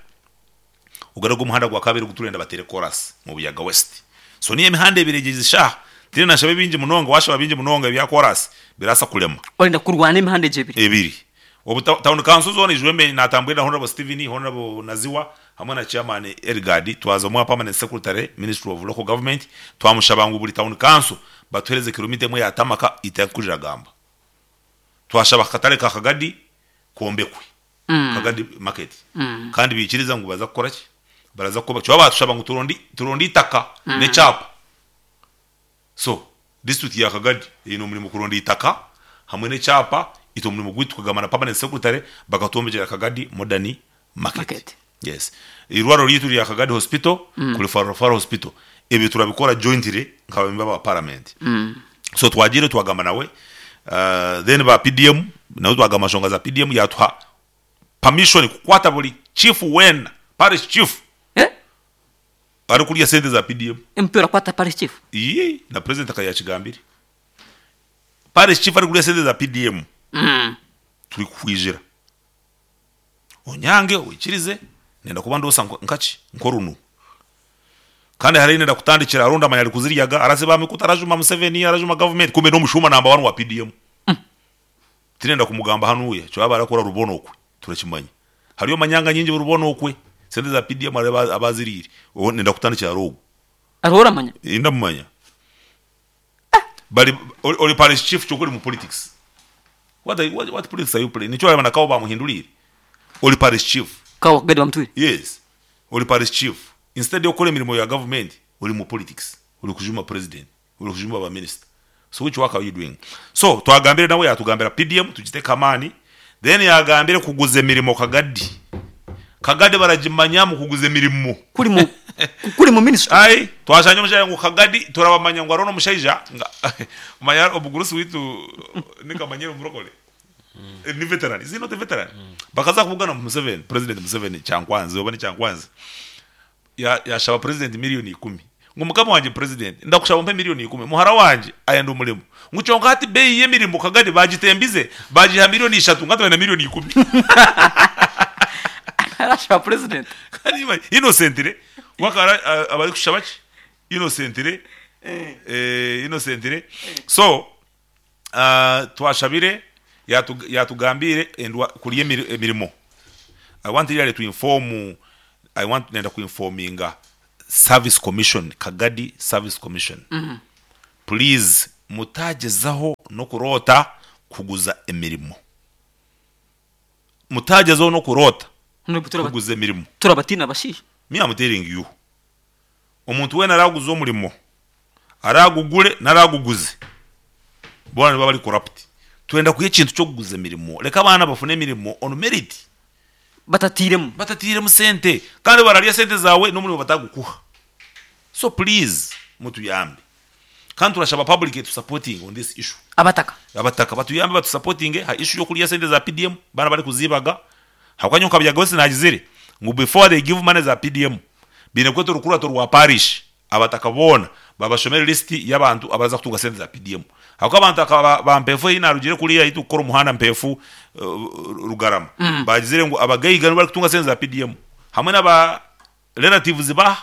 Ogu nigwo muhanda gwa kabiri ogu turenda bateere koorasi omu Buyaga West. So niyo emihanda ebiri egyo eshaaha tindi nashaba ebingi munonga, waashaba bingi munonga ebya koorasi birabaasa kurema. Orenda kurwana emihanda egyo ebiri? Ebiri. Obu town council zoona ijwembe naatambwire na Honourable Stephen, Honourable Naziwa hamwe na Chairman Elgard twaza omwa Permanent Secretary Ministry of Local Government twamushaba ngu buri town council batuheereze kilomita emwe ya tamaka etakurira gamba. Twashaba akatare ka Kagadi kombekwe. Kagadi market kandi baikiriza ngu baza kukora ki? Baraza kukoba kyonka batushaba ngu turonde turonde eitaka n'ekyapa. So district ya Kagadi eine omurimo kuronda eitaka hamwe n'ekyapa itwe omurimo gwaitu tukagamba na permanent secretary bakatwombekyera Kagadi modern market. Market. Yes. Eirwariro ryaitu rya Kagadi hospital kuri Referral hospital ebyo turabikora jointly nk'abamemba ba parliament. So twagiire twagamba nawe then ba PDM nabo twagamba nshonga za PDM yatuha permission kukwata buri chief weena, parish chief Eh? arikurya sente za PDM. MP orakwata parish chief? Iyii na president akaba yakigambire. Parish chief arikurya sente za PDM turikukwijira. Onyange oikirize nenda kuba ndoosa nkaki nk'orunu. Kandi hariho nenda kutandikira hariho ndamanya ari kuziryaga araziba aha mikutu arajuma Museveni arajuma gavumenti kumbe n'omushuuma namba wani wa PDM. Tinenda kumugamba hanuuya ekyo yaaba arakora rubona okwe turakimanya. Hariyo manyanga nyingi rubona okwe sente za PDM hariho aba aziriire nenda kutandikira ahari ogwo. Hariho oramanya? Ndamumanya. Bari ori parish chief kyonka ori mu politics. What are, what, what politics are you playing? Nikyo wareba na Kawo bamuhinduriire. Ori parish chief. Kawo Kagadi bamutwire? Yes. Ori parish chief. Instead yokukora emirimo ya government, ori mu politics. Ori kujuma president. Ori kujuma ba minister. So which work are you doing? So twagambire nawe yatugambira PDM tugiteke amaani. Then yagambire kuguza emirimo Kagadi. Kagadi baragimanya mu kuguza emirimo. Kuri mu kuri mu ministry. Ai twashanga omushaija ngu Kagadi turabamanya ngu hariho n'omushaija nga omanya omugurusi waitu ni Kamanyire omurokore ni veteran is he not a veteran? Bakaza kubugana Museveni president Museveni Kyankwanzi oba ni Kyankwanzi ya yashaba president milioni ikumi ngu mukama wangye president ndakushaba ompe milioni ikumi muhara wangye ayenda omurimo ngu kyonka hati beeyi y'emirimo Kagadi bagitembize bagiha milioni ishatu ngu hati baine milioni ikumi. Arashaba president. Kandi imagine innocently we akaba aba arikushaba ki innocently innocently so twashabire yatugambiire endwa kurya emirimo. I want really to inform I want nenda ku informinga service commission Kagadi service commission please mutagyezaho n'okuroota kuguza emirimo mutagyezaho n'okuroota Honorable turaba kuguza emirimo turabatiina abashaija. Me am telling you omuntu weena araguza omurimo aragugure n'araguguze boona nibaba bari corrupt. Twenda kwiha ekintu ky'okuguza emirimo reka abaana bafune emirimo on merit. Batatiiremu. Batatiiremu sente kandi bararya sente zaawe n'omurimo batagukuha. So please mutuyambe kandi turashaba public etu supportinge on this issue. Abataka. Abataka batuyambe batu supportinge ha issue y'okurya sente za PDM baana barikuzibaga ahabw'okuba nyowe nkabyaga wese nagizire ngu before they give money za PDM baine kweta orukurato rwa parish abataka boona babashomere list y'abantu abaraza kutunga sente za PDM ahabw'okuba abantu aka ba Mpeefu eyi narugire kuriya eyi turikukora omuhanda Mpeefu Rugarama bagizire ngu abagaiga nibo barikutunga sente za PDM hamwe naba relatives ba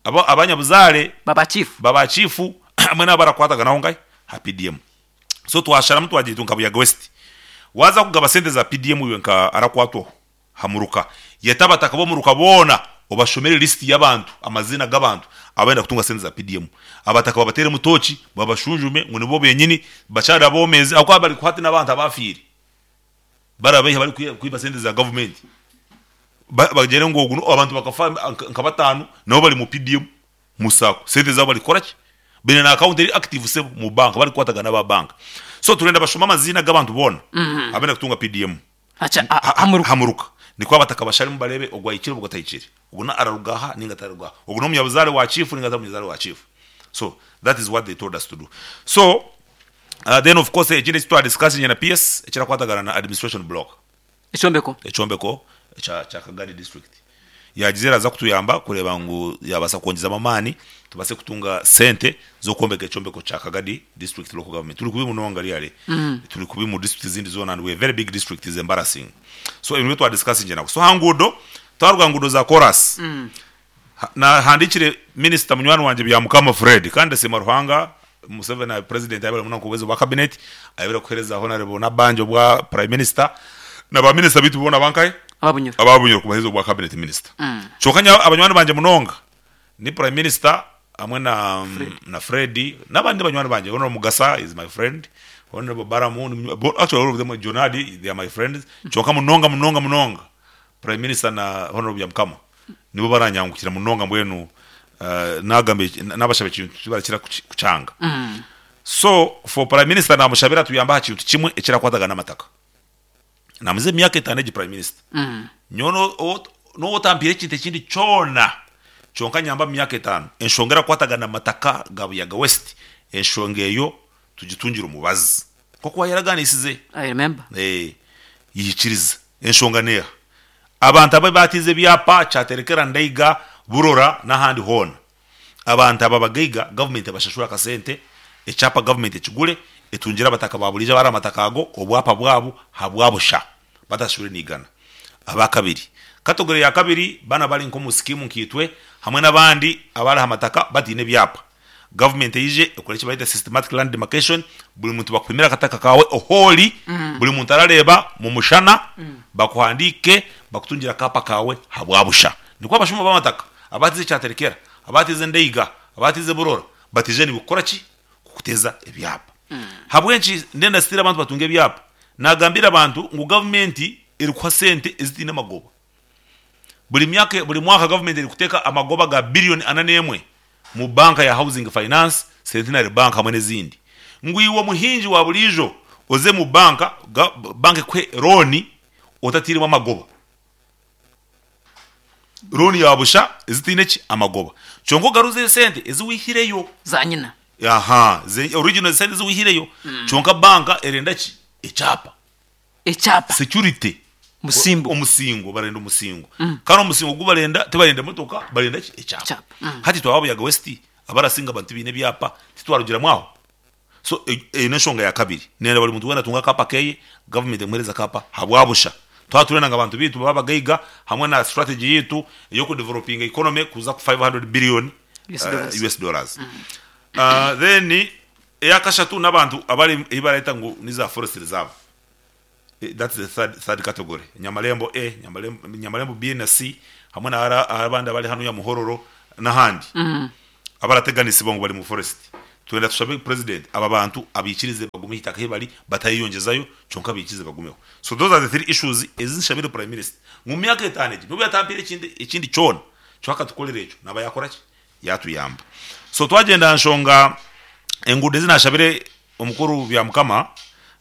abo abanyabuzaare Ba ba chief. ba ba chief hamwe n'abu barakwataganaho nkahi ha PDM. So twasharamu twagira itwe nka Buyaga West waaza kugaba sente za PDM iwe nka arakwatwaho ha muruka yeta abataka b'omuruka boona obashomere list y'abantu amaziina g'abantu abarenda kutunga sente za PDM. Abataka babateeremu tooki babashunjume ngu nibo benyini bakyari aboomeezi ahabw'okuba bari hati n'abantu abaafiire. Barabaiha barikwiba sente za gavumenti bagyere ngu ogu abantu bakafa nka bataano nabo bari mu PDM mu sacco sente zaabo barikukora ki? Baine na account eri active sebo mu bank barikukwatagana n'aba bank. So turenda bashome amaziina g'abantu boona abenda kutunga PDM aha muruka nikwo abataka basharemu bareebe ogu ahikire ogu atahikire, ogu araruga aha ninga tararuga aha, ogu n'omunyabuzaare wa chief ninga atari munyabuzaare wa chief. So that is what they told us to do. So Then of course ekindi eki twa discussinge na PS ekirakwatagana na administration block. Ekyombeko. Ekyombeko ekya kya Kagadi district. Yagize eraza kutuyamba kureeba ngu yabaasa kwongyezamu amaani tubaase kutunga sente z'okwombeka ekyombeko kya Kagadi district local government. Turi kubi munonga really. Turi kubi mu district ezindi zoona and we are a very big district is embarrassing. So ebyo nibyo twa discussinge nabo. So aha nguudo, twaruga aha nguudo za koraasi. Nahandiikire minisita munywani wangye Byamukama Fred kandi ndasiima Ruhanga Museveni president ayebare munonga kubuheereza obwa cabinet, ayebare kuheereza Honarebo Nabbanja obwa prime minister na ba minisita beitu boona abankahe? Aba Bunyoro. Aba Bunyoro kubaheereza obwa cabinet minister. Kyonka nyowe abanywani bangye munonga ni prime minister hamwe na Fred. na Fred n'abandi banywani bangye Honorable Mugasa is my friend, Honorable Balamu actually all of them Jonadi they are my friends kyonka munonga munonga munonga Prime Minister na Honourable Byamukama nibo baranyangukira munonga mbwenu nagamba nabashaba ekintu tibarakira kukyanga. So for Prime Minister namushabira atuyambe aha kintu kimwe ekirakwatagana n'amataka. Namuza emyaka etano egi Prime Minister. Nyowe n'obu otampiire ekintu ekindi kyona kyonka nyamba omu myaka etano enshonga erakwatagana n'amataka ga Buyaga West enshonga eyo tugitungire omubazi. Nk'oku wayeraganisize. I remember. Yikiriza. Enshonga n'eha? Abantu abu baatiize ebyapa, Kyaterekera, Ndaiga, Burora n'ahandi hoona. Abantu aba abagaiga gavumenti ebashashure akasente, ekyapa gavumenti ekigure, etungire abataka ba buriijo abari aha mataka ago obwapa bwabo habwa busha batashashure n'eigana. Abakabiri, category ya kabiri, banu abari nk'omu sikiimu nkaitwe hamwe n'abandi abari aha mataka bataine ebyapa. Gavumenti eije ekore eki bareta systematic land demarcation, buri muntu bakupimire akataka kaawe ohu ori, buri muntu arareeba mu mushana, bakuhandiike, bakutungire akaapa kaawe habwa busha. Nikwo abashuma b'amataka abaatiize Kyaterekera, abaatiize Ndeiga, abaatiize Burora bataije niiwe kukora ki? Kukuteeza ebyapa. Habw'enki ndenda still abantu batunge ebyapa? Naagambira abantu ngu gavumenti erikuha sente ezitaine magoba. Buri myaka buri mwaka gavumenti erikuteeka amagoba ga billion ana n'emwe mu banka ya Housing Finance, Centenary Bank hamwe n'ezindi. Ngu iwe omuhingi wa buriijo oze mu banka, banka ekuhe looni otatiiremu amagoba. Looni ya busha ezitaine ki? Amagoba. Kyonka ogaruze esente ezi wihireyo. Za nyina. Aha, original esente ezi wihireyo. Kyonka banka erenda ki? Ekyapa. Ekyapa. Security. Musimbo. Omusingo, barenda omusingo. Kandi omusingo ogu barenda tibarenda emotoka, barenda ki? Ekyapa. Ekyapa. Hati twaba Buyaga West, abarasinga abantu tibaine ebyapa, titwarugiramu aho? So eyo n'enshonga ya kabiri. Nenda buri muntu weena atunge akaapa keye, gavumenti emuheereze akaapa habwa busha. Twaba turenda ngu abantu baitu babe abagaiga hamwe na strategy yaitu ey'okudevelopinga economy kuza ku 500 billion US dollars. US dollars. Then eya kashatu n'abantu abari ei bareta ngu ni za forest reserve. That's the third, third category. Nyamarembo A, Nyamarembo, Nyamarembo B na C hamwe na hara abandi abari hanuya Muhororo n'ahandi abarateganisibwa ngu bari mu forest. Twenda tushabe president aba bantu abaikirize bagume aha itaka ahi bari batayeyongyezayo kyonka abaikirize bagumeho. So those are the three issues ezi nshabire prime minister ngu mu myaka etaano egi nobu yatampire ekindi ekindi kyona kyonka akatukorera ekyo naba yakora ki? Yatuyamba. So twagyenda aha nshonga enguudo ezi nashabire Omukuru Byamukama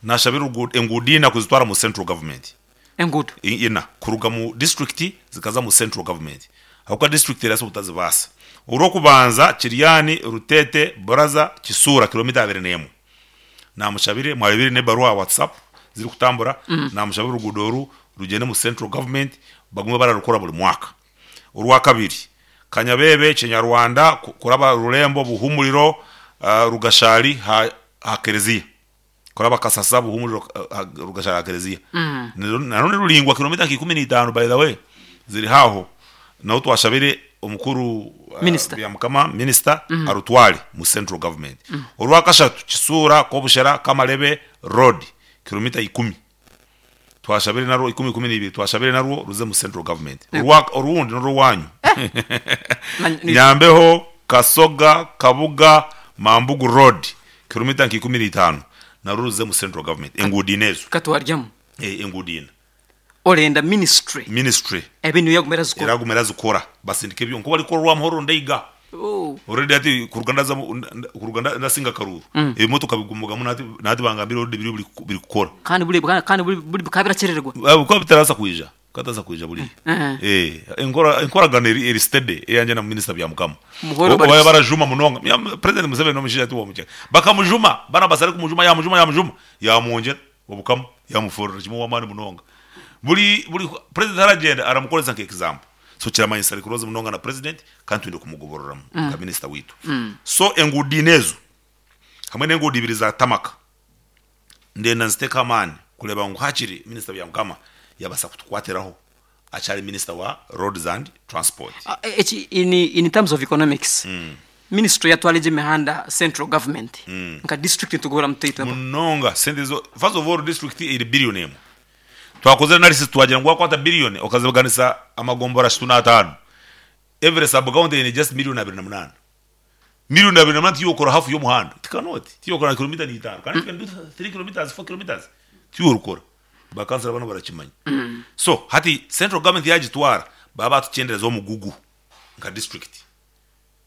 nashabire enguudo ina kuzitwara mu central government. Enguudo? Ina kuruga mu district zikaza mu central government ahabw'okuba district erabaasa obutazibaasa. Orw'okubanza Kiryani, Rutete, Buraza, Kisuura kilomita abiri n'emwe. Namushabire, mwareebire n'ebaruha aha WhatsApp zirikutambura, namushabire oruguudo oru rugyende mu central government bagume bararukora buri mwaka. Orwakabiri, Kanyabebe, Kinyarwanda, kuraba Rurembo, Buhumuriro, Rugashari ha Kereziya. Kuraba Kasasa, Buhumuriro, Rugashari ha Kereziya. Narwo niruraingwa kilomita nka ikumi n'itaano by the way, ziri haaho. Naho twashabire omukuru Minisita. Byamukama, minisita, arutware mu central government. Orwakashatu, Kisuura, Kobushera, Kamarebe road, kilomita ikumi. Twashabire narwo ikumi ikumi n'ibiri twashabire narwo ruze mu central government. Orwa orundi n'orwanyu. Nyambeho, Kasoga, Kabuga, Mambugu road kilomita nka ikumi n'itaano narwo ruze mu central government. Enguudo ina ezo. Katwaryamu. Eh, enguudo ina. Orenda ministry. Ministry. Ebe niyo yaguma erazikora. Eraguma erazikora. Basindike ebyo nkoku barikukora orwa Muhorro Ndeiga. Oh. Already hati kuruga ndaza kuruga ndasinga akaruuru, ebimotoka bigumugamu nahati bangambire already biriyo biri kukora. Kandi buri kandi buri bikaba birakyerererwa. Bikaba bitarabaasa kwija, bikaba bitarabaasa kwija buriya. Eh, enkora enkoragana eri eri steady eyangye na Minisita Byamukama. Muhoro Obu bari baba barajuma munonga, President Museveni n'omushaija ti w'omukyeka. Bakamujuma, Barnabas arikumujuma yaamujuma yaamujuma, yaamwongyera obukama, yaamufoorera kimwe ow'amaani munonga. Buri buri President aragyenda aramukoresa nka example. So kiramanyisa ari close munonga na president kandi twine kumugobororamu nka minister waitu. So enguudo ina ezo hamwe n'enguudo ibiri za tarmac ndenda nzitekeho amaani kureeba ngu hakiri minister Byamukama yabaasa kutukwatiraho akyari minister wa roads and transport. Eki in, in terms of economics ministry yatwara egyo emihanda central government nka district nitugoboramu tuta itwe? Munonga sente ezo first of all district eri billion emwe. Twakozire analysis twagira ngu wakwata billion okazibaganisa amagombora ashatu n'ataano, every sub county eine just million 28. Million 28 tiyokora half y'omuhanda, it cannot, tiyokora na kilomita n'itaano, can it even do 3 kilometres, 4 kilometres? Tiyorukora. Ba councillor banu barakimanya. So hati central government yagitwara, baba batukyendereza omugugu nka district.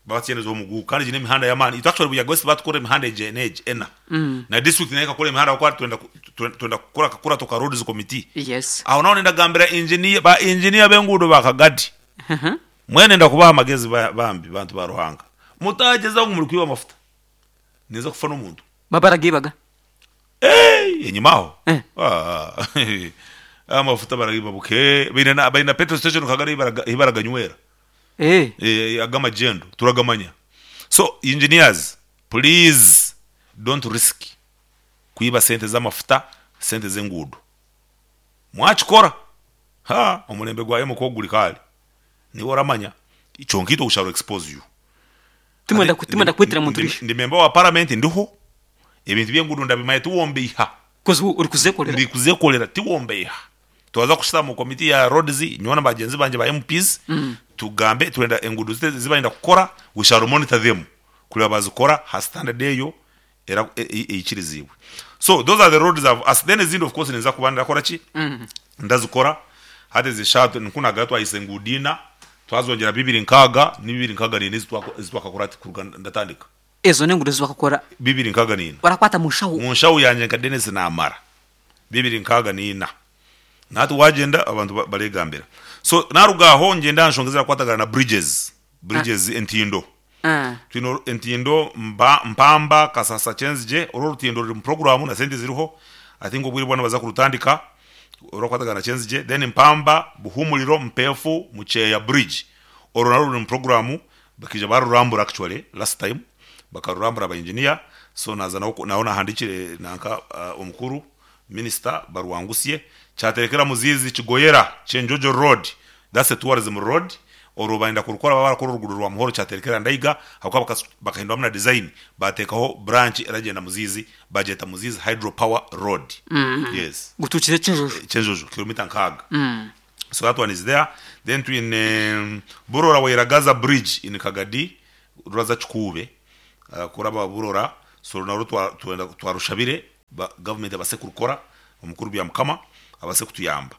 Babatsyenderezaho omugugu kandi egi n'emihanda y'amaani. Itwe actually Buyaga West baatukora emihanda egi n'egi ena. Na district nayo ekakora emihanda ahabw'okuba twenda ku- twe- twenda kukora akakurato ka roads committee. Yes. Aho naho nindagambira engineer, ba engineer b'enguudo ba Kagadi. Mbwenu nenda kubaha amagezi ba- bambi bantu ba Ruhanga. Mutagyezaho ngu muri kwiba amafuta. Ninza kufa n'omuntu. Baba baragiibaga. Eey, enyima aho. Eh. Ah, amafuta baragiiba buke. Baine na baine na petrol station Kagadi ei baraga- ei baraganywera. Eh. Eh, ag'amagyendo turagamanya. So engineers please don't risk kwiba sente z'amafuta, sente z'enguudo. Mwakikora ha omurembe gwa M ku guri kare niiwe oramanya kyonka itwe we shall expose you. Timwenda ku- timwenda kwitira muntu riisho. Ndi member wa parliament ndiho ebintu by'enguudo ndabimanya tiwombeiha. Coz orikuzekorera. Ndikuzekorera tiwombeiha. Twaza kushutama mu committee ya roads nyowe na bagyenzi bangye ba MPs tugambe turenda enguudo zitu ezi barenda kukora we shall monitor them kureba bazikora ha standard eyo era eikiriziibwe. So those are the roads I've asked then ezindi of course ninza kuba ndakora ki? Ndazikora hati ezi eshaaha nikwo nagamba twahisa enguudo ina twazongyera bibiri nkaaga n'ibibiri nkaaga n'ina ezi twakakora hati kuruga ndatandika. Ezo n'enguudo ezi wakakora. Bibiri nkaaga n'ina. Orakwata mu nshaho. Mu nshaho yangye nka Denis naamara. Bibiri nkaaga n'ina. Na hati waagyenda abantu bareegambira. So naaruga aho ngyenda aha nshonga ezirakwatagana na bridges, bridges entindo. Twine entindo Mpamba, Kasasa, Kyenzigye, oru orutindo ruri mu puroguraamu na sente ziriho, I think obwire bwona nibaza kurutandika orurakwatagana na Kyenzigye. Then Mpamba, Buhumuriro, Mpeefu, Mukyeya bridge, orwo narwo ruri mu puroguraamu, bakaija baarurambura actually last time, bakarurambura aba engineer, so naaza naho naahandiikire nanka omukuru Minisita Barwangusye, kyaterekera Muziizi Kigoyera Kyenjojo road, that's a tourism road, Orwo barenda kurukora baba barakora oruguudo rwa Muhoro Kyaterekera Ndaiga ahabw'okuba bakahinduramu na design bateekaho branch eragyenda Muziizi bagyeta Muziizi Hydro Power Road. Yes. Gutuukire Kyenjojo. Kyenjojo kilomita nkaaga. So that one is there. Then twine Burora Wairagaza Bridge in Kagadi ruraza Kikuube kuraba Burora so narwo twenda twarushabire government ebase kurukora omukuru Byamukama abase kutuyamba.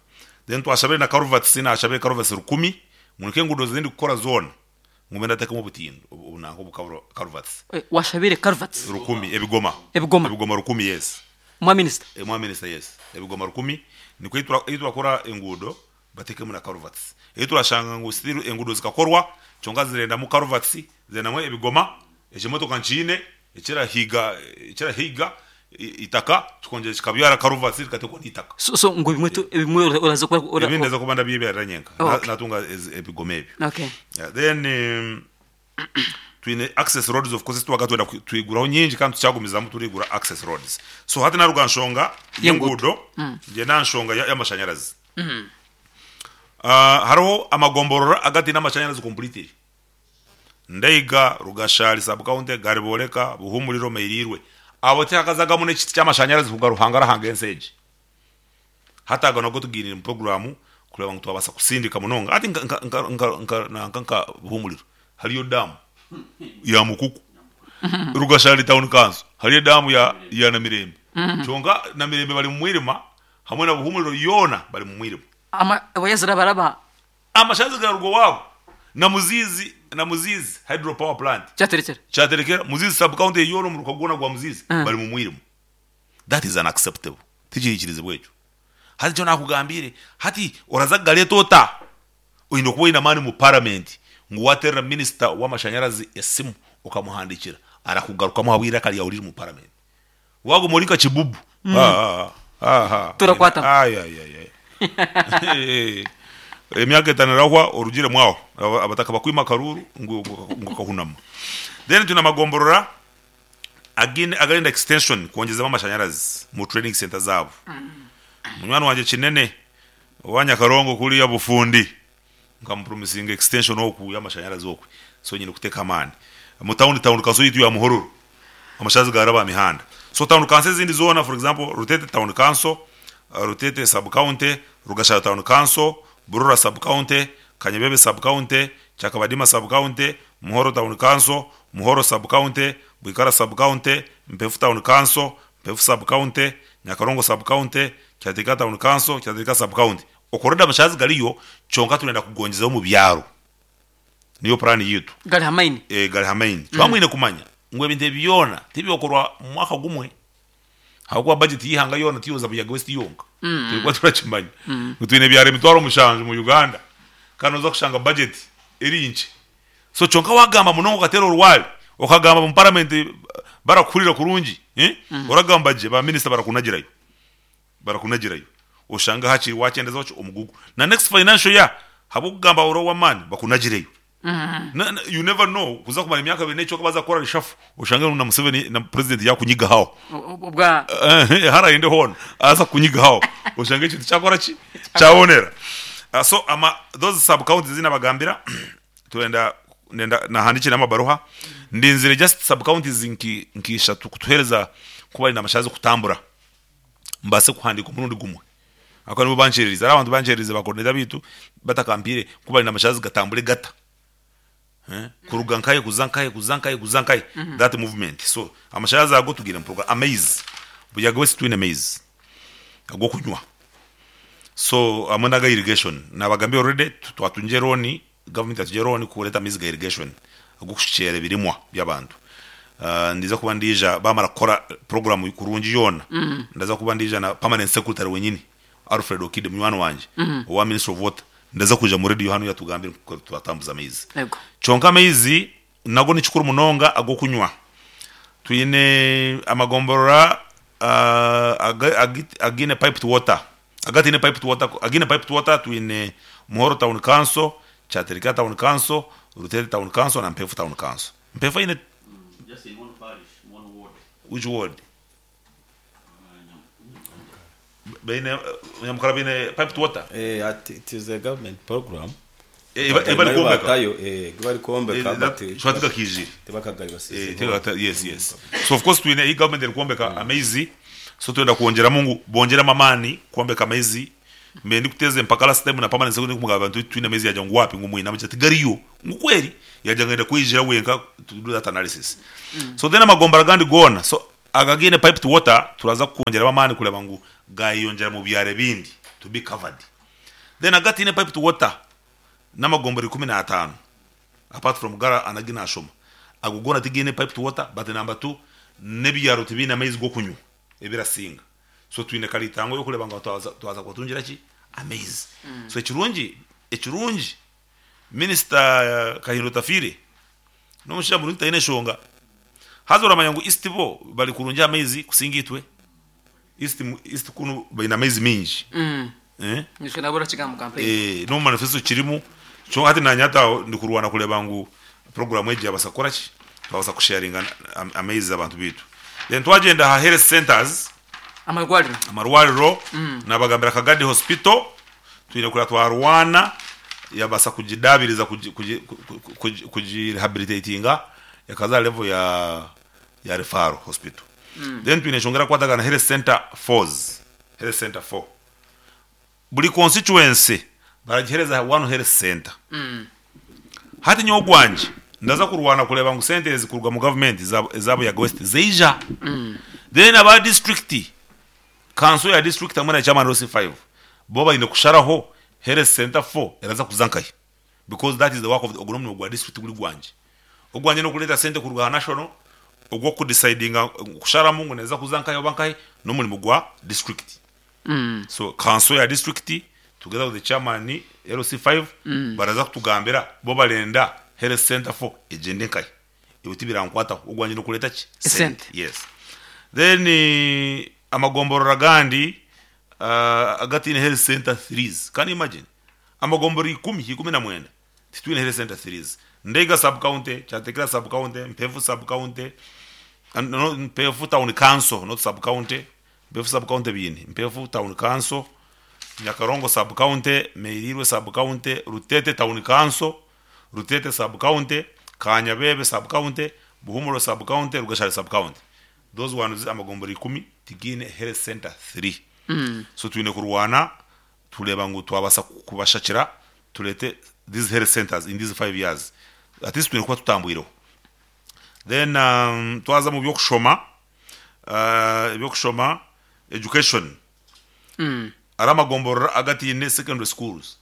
Then twashabire na culverts nashabire culverts rukumi ngu nikwo enguudo ezindi kukora zoona ngume ndatekemu obutindo obu nanka obu culverts. Washabire culverts? Rukumi ebigoma. Ebigoma. Ebigoma rukumi yes. Mwa minisita? Mwa minisita yes. Ebigoma rukumi nikwo ei turakora enguudo batekemu na culverts. Ei turashanga ngu still enguudo zikakorwa kyonka zirendamu culverts, zirendamu ebigoma, ekimotoka nkiine ekirahiga ekirahiga eitaka kikongyera kikabyara culverts rikatekwa n'eitaka. So so ngu ebimwe tu ebimwe oraza kuba ora Ebindi ndaza kuba ndabyebyarira nyenka Oh, okay. natunga ebigoma ebyo. Okay. Yeah, then twine access roads of course twaga twenda twiguraho nyingi kandi tukyagumizamu turigura access roads. So hati naruga aha nshonga y'enguudo ngyenda aha nshonga y'amashanyarazi. Hariho amagomborora agataine amashanyarazi completely. Ndaiga, Rugashari sub county, Gariboreka, Buhumuriro, Meirirwe. Abo tihakazagamu n'ekiti ky'amashanyarazi kuruga Ruhanga arahanga ensi egi. Hati ago nago tugiinire omu puroguraamu kureeba ngu twabaasa kusindika munonga. Hati nka nka nka nka nka nanka nka Buhumuriro hariyo daamu ya Mukuku. Rugashari town council hariyo edaamu ya ya Namirembe. Kyonka Namirembe bari mu mwirima hamwe na Buhumuriro yoona bari mu mwirima. Ama waya zirabaraba. Amashanyarazi gararuga owaabo na Muziizi na Muziizi Hydro Power Plant. Kyaterekyera. Kyaterekyera. Muziizi sub county yoona omuruka gwona gwa Muziizi bari mu mwirima. That is unacceptable. Tikihikirizibwa ekyo. Hati nikyo nakugambiire, hati oraza kugareeta ota? Oine kuba oine amaani mu parliament ngu wateerera minister w'amashanyarazi esimu okamuhandiikira arakugarukamu ahabw'eiraka ryawe riri mu parliament. Waguma ori nka kibubu. Turakwatana. Emyaka etaano erahwa orugiremu aho abataka bakwima akaruuru ngu okahunama. Then twine amagomborora againe agarenda extension kwongyezamu amashanyarazi mu training center zaabo. Munywani wangye Kinene owa Nyakarongo kuriya Bufundi nkamupromisinga extension oku y'amashanyarazi okwe so nyine kuteeka amaani. Omu town town council yaitu ya Muhororo amashanyarazi garaba aha mihanda. So town council ezindi zoona for example Rutete town council, Rutete sub county, Rugashara town council, Burora sub county, Kanyabebe sub county, Kyakabadima sub county, Muhoro town council, Muhoro sub county, Bwikara sub county, Mpefu town council, Mpefu sub county, Nyakarongo sub county, Kyateeka town council, Kyateeka sub county. Okwo already amashanyarazi gariyo kyonka turenda kugongyezaho omu byaro. Niyo puraani yaitu. Gari ha maini. Ee, gari ha maini. Twaba mwine kumanya ngu ebintu ebi byona tibyokorwa mu mwaka gumwe ahabw'okuba bajeti y'eihanga yoona tiyoza Buyaga West yonka. Twine kuba turakimanya ngu twine ebyaro 70,000 mu Uganda kandi noza kushanga bajeti eri nkye. So kyonka wagamba munonga okateera orwari, okagamba omu paramenti barakuhurira kurungi, oragamba gye ba minisita barakunagirayo. Barakunagirayo oshange hakiri wakyendezaho ki omugugu na next financial year habwokugamba ori owamani bakunagireyo na na you never know kuza kumara emyaka ebiri nekicweka baza kukora reshuffle oshange ngu na Museveni na president yakunyigaho Obwa harayende hoona aza kukunyigaho oshange ekintu kyakora ki kyabonera so ama those sub counties ezinabagambira turenda ndenda nahandikire amabaruha ndinzire just sub counties nki nk'ishatu kutuhereza kuba baine amashanyarazi kutambura. mbaase kuhandiika omurundi gumwe ahakuba nibo bankyererize. Hariho abantu bankyererize ba coordinator baitu batakampiire ku bari n'amashanyarazi gatambure gata kuruga nkahi kuza nkahi kuza nkahi kuza nkahi that movement so amashanyarazi ago tugaine omu program. Amaizi, Buyaga West twine amaizi ag'okunywa so hamwe n'aga irrigation nabagambire already twatungire loan Gavumenti yatugire looni kureeta amaizi ga irrigation ag'okushukyera ebirimwa by'abantu. Ninza kuba ndiija baamara kukora puroguraamu kurungi yoona, ndaza kuba ndiija na permanent secretary wenyini Alfred Okide munywani wangye owa Ministry of Water, ndaza kwija mu rediyo hanu yatugambire nkoku twatambuza amaizi. Kyonka amaizi nago ni kikuru munonga ag'okunywa. Twine amagomborora againe piped water. Agataine piped water, againe piped water twine Muhoro Town Council, Kyatereka Town Council, Rutete Town Council na Mpefu Town Council. Mpefu eine Just in one parish, one ward. Which ward? Baine Nyamukara baine piped water? Eh, at, it is a government program. Eh, eba- Nayo bari kwombeka. batayo, eh, egi bari kwombeka, Eh, but that- shwati kakiijire. tibakagari Eh, yes. So of course twine iyi government eri kwombeka amaizi, so twenda kwongyeramu ngu bongyeremu amaani kwombeka amaizi. Mbe ndikuteeza empaka last time na permanent secretary kumugamba nti twine amaizi yagira ngu wapi ngu mwine amaizi ati gariyo ngu kweri yagira ngu ayenda kweijira wenka to do that analysis. So then amagombora agandi goona so aga againe piped water turaza kwongyeramu amaani kureeba ngu gayeyongyera mu byaro ebindi to be covered. Then agataine piped water n'amagombora 15 apart from gara anagi nashoma ago goona tigaine piped water but number two n'ebyaro tibiine amaizi g'okunywa ebirasinga so twine karitango y'okureeba ngu twaza twaza kubatungira ki amaizi. So ekirungi ekirungi minisita Kahinda Otafiire n'omushaija murungi taine nshonga haza oramanya ngu East bo bari kurungi aha maizi kusinga itwe. East East kunu baine amaizi maingi. Eh? Nyowe nabura kigamba mu campaign. Eh, n'omu manifesto kirimu. Kyonka hati naanye hati aho ndikurwana kureeba ngu program egi yabaasa kukora ki? Twabaasa kusharinga amaizi abantu baitu. Then twagyenda aha health centers, Amarwariro. Amarwariro, nabagambira Kagadi Hospital twine kureba twarwana yabaasa kugidaabiriza kugi kugi kugi kugi rehabilitatinga ekaza aha level ya ya referral hospital. Then twine enshonga erakukwatagana na health center fours, health center four. Buri constituency baragihereza one health center. Hati nyowe ogwangye ndaza kurwana kureeba ngu sente ezi kuruga mu government eza Buyaga West zaija. Then aba district, council ya district hamwe na chairman LC5 bo baine kusharaho health center four eraza kuza nkahi. Because that is the work of the ogwo n'omurimo gwa district tiguri gwangye. Ogwangye n'okureeta sente kuruga aha national, ogw'okudecidinga kusharamu ngu neeza kuza nkahi oba nkahi n'omurimo gwa district. So council ya district together with the chairman LC5 baraza kutugambira bo barenda health center four egyende nkahi. Ebyo tibirankwataho, ogwangye n'okureeta ki? Esente. Yes. Then amagomborora agandi agataine health center threes, can you imagine? Amagomborora ikumi, 19, titwine health center threes. Ndeiga sub county, Kyateekera sub county, Mpeefu sub county, no, Mpeefu town council, not sub county, Mpeefu sub county biine, Mpeefu town council, Nyakarongo sub county, Meirirwe sub county, Rutete town council, Rutete sub county, Kanyabebe sub county, Buhumuro sub county, Rugashari sub county. Those ones amagomborora 10 tigaine health center three. So twine kurwana tureeba ngu twabaasa kubashakira tureete these health centers in these 5 years. At least twine kuba tutambwireho. Then twaza omu by'okushoma, eby'okushoma education. Hariho amagomborora agataine secondary schools.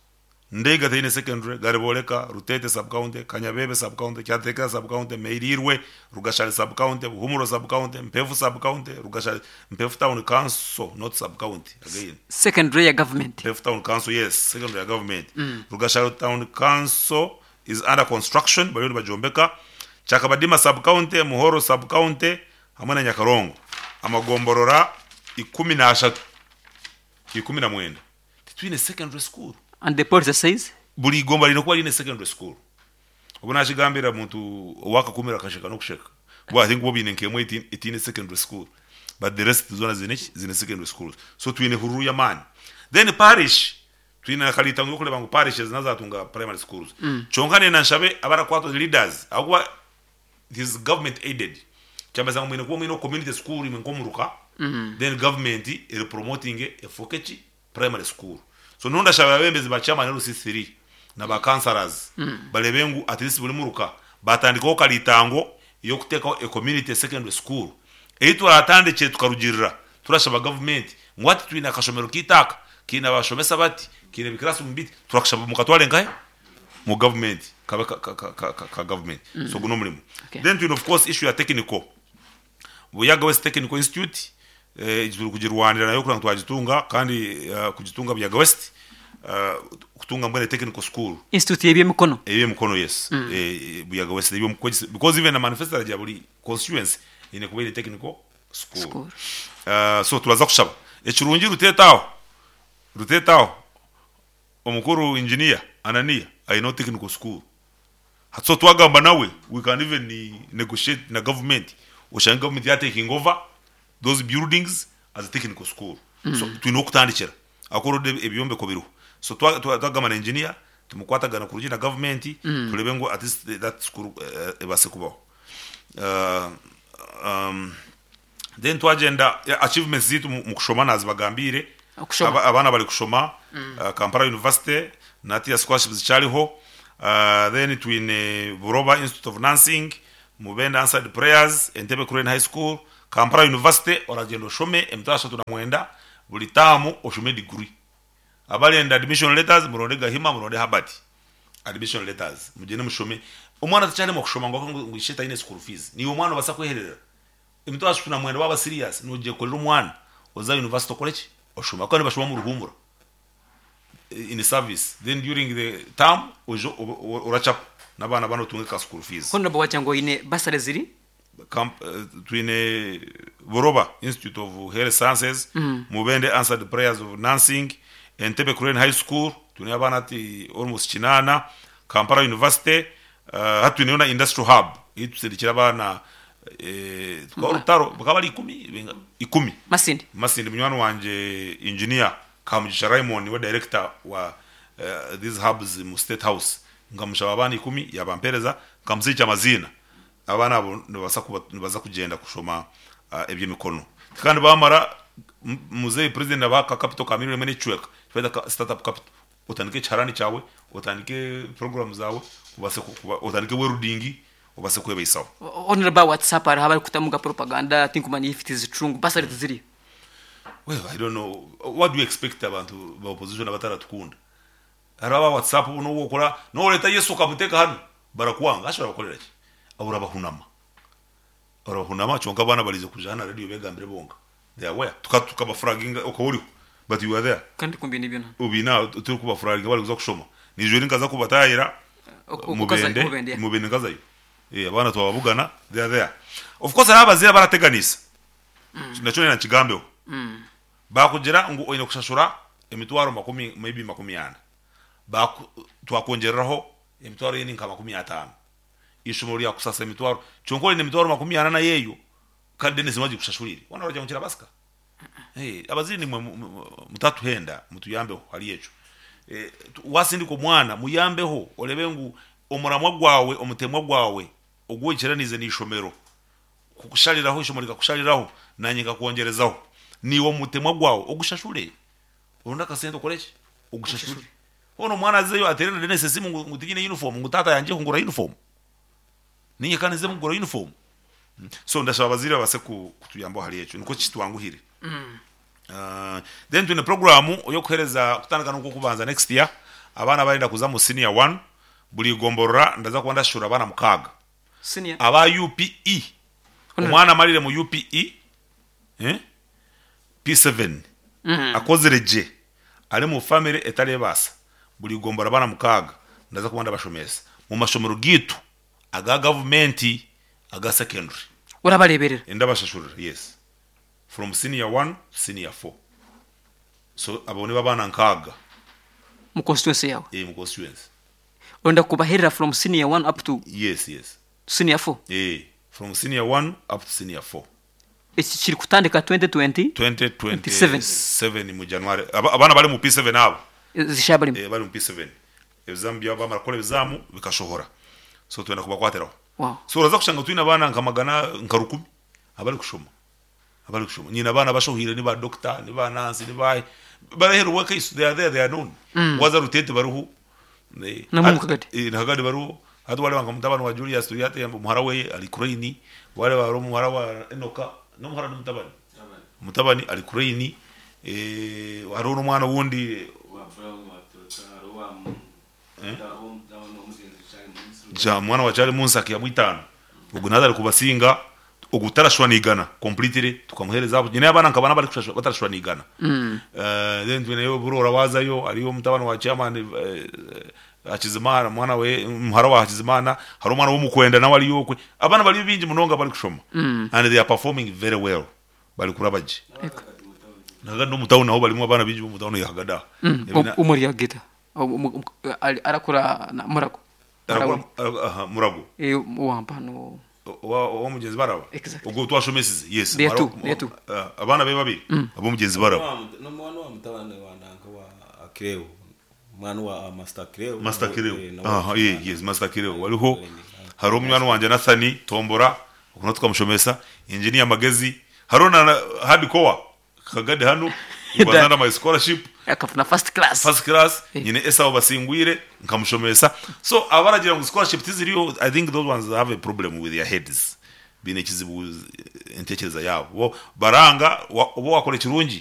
Ndeiga teine secondary, Gariboreka, Rutete sub-county, Kanyabebe sub-county, Kyateekera sub-county, Meirirwe, Rugashari sub-county, Buhumuro sub-county, Mpeefu sub-county, Rugashari, Mpeefu town council, not sub-county again. Secondary ya government. Mpeefu town council, yes, secondary ya government. Rugashari town council is under construction, bariyo nibagyombeka. Kyakabadima sub-county, Muhoro sub-county hamwe na Nyakarongo. Amagomborora 13, 19. Titwine secondary school. And the policy says? Buri igomba riine kuba riine secondary school. Obu naakigambira omuntu ow'akakumiro akasheka n'okusheka. Bo I think bo baine nk'emwe etaine secondary school but the rest zoona ziine ki? Ziine secondary schools. So twine hururu y'amaani. Then parish, twine na karitango y'okureeba ngu parishes nazo zaatunga primary schools. Kyonka nenda nshabe abarakwatwa leaders ahabw'okuba it is government aided. Kyamanyisa ngu mwine kuba mwine community school imwe nk'omuruka then government eri promotinge efooke ki? Primary school. So nyowe ndashaba abebembezi ba chairman LC3 na ba councillors barebe ngu at least buri muruka batandikaho karitango eyokutekaho a community secondary school eyi turatandikire tukarugirira turashaba government ngu hati twine akashomero keitu aka keine abashomesa bati keine bi classroom biti turakushaba mukatware nkahe mu government kabe ka government so ogu nomurimo. Then twine of course issue ya technical Buyaga West Technical Institute egi turi kugirwanira nayo kureba ngu twagitunga kandi kugitunga Buyaga West kutunga mbwenu technical school. Institute y'eby'emikono. Ey'eby'emikono yes. Buyaga West ey'eby'emikono because even na manifesto eragira buri constituency eine kuba eine technical school. School. So turaza kushaba. Ekirungi Ruteete aho, Ruteete aho omukuru engineer Anania aineho technical school. Hati so twagamba nawe we can even negotiate na government oshange government ya taking over those buildings as a technical school. So twine ahokutandikira ahakuba already ebyombeko biriho. So twagamba na engineer. Tumukwatagana kurungi na gavumenti turebe ngu at least that school ebaase kubaho. Then twagyenda achievements zaitu mu kushoma nazibagambiire. Okushoma. Abaana bari kushoma Kampala University na hatiiya scholarships zikyariho. Then twine Buroba Institute of Nursing, Mubende Answered Prayers, Entebbe Crane High School, Kampala University oragyenda oshome 39 buri taamu oshome degree. Abarenda admission letters muronde Gahima muronde Herbert admission letters mugyende mushome. Omwana takyaremwa kushoma ngu ahabw'okuba ngu ishe taine school fees. Naiwe omwana obasa kwehererera 39 waaba serious nogyekorera omwana oze aha university okore ki? Oshome. Ahabw'okuba nibashoma omu ruhumura in service then during the term oije orachapa n'abaana abandi otunge ka school fees. Honourable wagira ngu oine bursary ziri? Twine Buroba Institute of Health Sciences, Mubende Answered Prayers of Nursing, Entebbe Crane High School, twineyo abaana hati almost kinaana, Kampala University, hati twineyo na Industrial Hub ei tusindikire abaana orutaro bakaba bari ikumi, Masindi. Masindi munywani wangye Engineer Kamugisha Raymond niwe director wa these hubs mu State House, nkamushaba abaana ikumi yabampereza nkamusiikya amaziina. Abaana abo nibabaasa kuba nibaza kugyenda kushoma eby'emikono. Kandi baamara, muzeeyi president abaha ka capital ka million emwe n'ekicweka, eki barikuta start up capital. Otandike ekiharani kyawe, otandike program zaawe, obaase kuba, otandike welding, obaase kwebaisaho. Honourable aha WhatsApp hariho abarikutamu nka propaganda tinkumanya if it is true ngu bursary tiziriyo. Well, I don't know, what do you expect abantu ba opposition abataratukunda? Hariho aba WhatsApp n'obu okora, n'oreeta Yesu okamuteeka hanu, barakwanga. Hashi orabakorera ki? Orabahunama. Orabahunama kyonka abaana bariija kwija hanu aha radio begambire bonka. They are aware. Tuka tukabafuraginga okaba oriho but you were there. Kandi ku mbiine byona. Obiine aho turikubafuraginga barikuza kushoma. Niijo eri nkaza kubataayira Okaza Mubende, Mubende, yeah. Mubende nkazayo. Eh, abaana twababugana, they are there. Of course hariho abazaire abarateganisa. Nakyo nenda nkigambeho. Baakugira ngu oine kushashura emitwaro makumi maybe 40, baaku twakwongyereraho emitwaro endi nka 50. Eishomero ryakusasa emitwaro, kyonka oine emitwaro 40 nayo eyo, kandi Denis niwe agikushashuriire. Hoona oragira ngu kirabaasika? Abazaire naimwe mutatuhenda, mutuyambeho ahari ekyo. Waasindika omwana muyambeho oreebe ngu omuramwa gwawe, omutemwa gwawe ogu oikiraniize n'eishomero, kukushariraho eishomo rikakushariraho nanye nkakwongyerezaho niiwe omutemwa gwawe ogushashure oronde akasente okore ki ogushashure hoona omwana azeyo ateere na Denis esimu ngu ngu tinyine uniform ngu taata yangye kungura uniform ninye ka ninze kugura uniform so ndashaba abazaire babaase kutuyambaho ahari ekyo nikwo kitwanguhire Then twine puroguraamu ey'okuheereza kutandika n'okw'okubanza next year abaana abarenda kuza omu senior one buri igomborora ndaza kuba ndashashurira abaana mukaaga. Senior. Aba UPE, omwana amarire mu UPE eh, P7 akozire gye ari mu family etarebaasa, buri igombora abaana mukaaga ndaza kuba ndabashomesa mu mashomero gaitu aga gavumenti aga secondary. Orabareeberera? Ndabashashurira, yes. From senior one to senior four. So abo nibo abaana nkaaga. Mu constituency yaawe? Eh, mu constituency. Orenda kubaherera from senior one up to Yes, yes. senior four? Eh, from senior one up to senior four. Eki kiri kutandika 2020? 2027 mu January. Aba, abaana bari mu P7 abo. Zishaya barimu? Eh, bari mu P7. Ebizamu byabo bamara kukora ebizamu bikashohora. So twenda kubakwatiraho. Wow. So oraza kushanga twine abaana nka magana nka rukumi abari kushoma. Abari kushoma. Nyine abaana abashohire ni ba doctor, ni ba nurse, ni baahi. Bari aheeru w'akaiso, they are there, they are known. Waaza Rutete bariho. Namwe omu Kagadi? Eh, na Kagadi bariho. Hati waareeba nka mutabani wa Julius Turyatemba, muhara weye ari Crane. Waareeba hariho muhara wa Enoka, n'omuhara n'omutabani? Mutabani ari Crane. Hariho n'omwana owundi. Mwana wa Charles Munsaka yamwitaano ogu naza ari kubasinga ogu tarashwanigana completely tukamuhereza aho nyine abaana nkabana bari batarashwanigana then twineyo Burora wazayo hariyo omutabani wa chairman Hakizimana mwana we muhara wa Hakizimana hariho omwana w'omukwenda nawe ariyo okwe abaana bariyo bingi munonga bari kushoma and they are performing very well bari kuraba gye Hagadi n'omu town naho barimu abaana bingi b'omu town ya Hagadi aho Omuri Agita arakura Murago. Aha, Murago. Eh, owampa no. Ow'omugyenzi Baraba? Exactly. Ogwo twashomesize? Yes. They are two, they are two. Abaana be babiri ab'omugyenzi Baraba. N'omwana wa mutabani wa nanka wa Akireo. Mwana wa Master Kireo. Master Kireo. Eh, nawe Aha, ye, yes, Master Kireo. Waliho hariho munywani wangye Nathani Tombora, okuna tukamushomesa, Engineer Magezi, hariho na Hardcore Kagadi hanu, he was under my scholarship. Akafuna first class. First class, Eh. nyine Esau Basingwire nkamushomesa. So abaragira ngu scholarship tiziriyo, I think those ones have a problem with their heads. Biine ekizibu entekereza yabo. Bo baranga oba wakora ekirungi.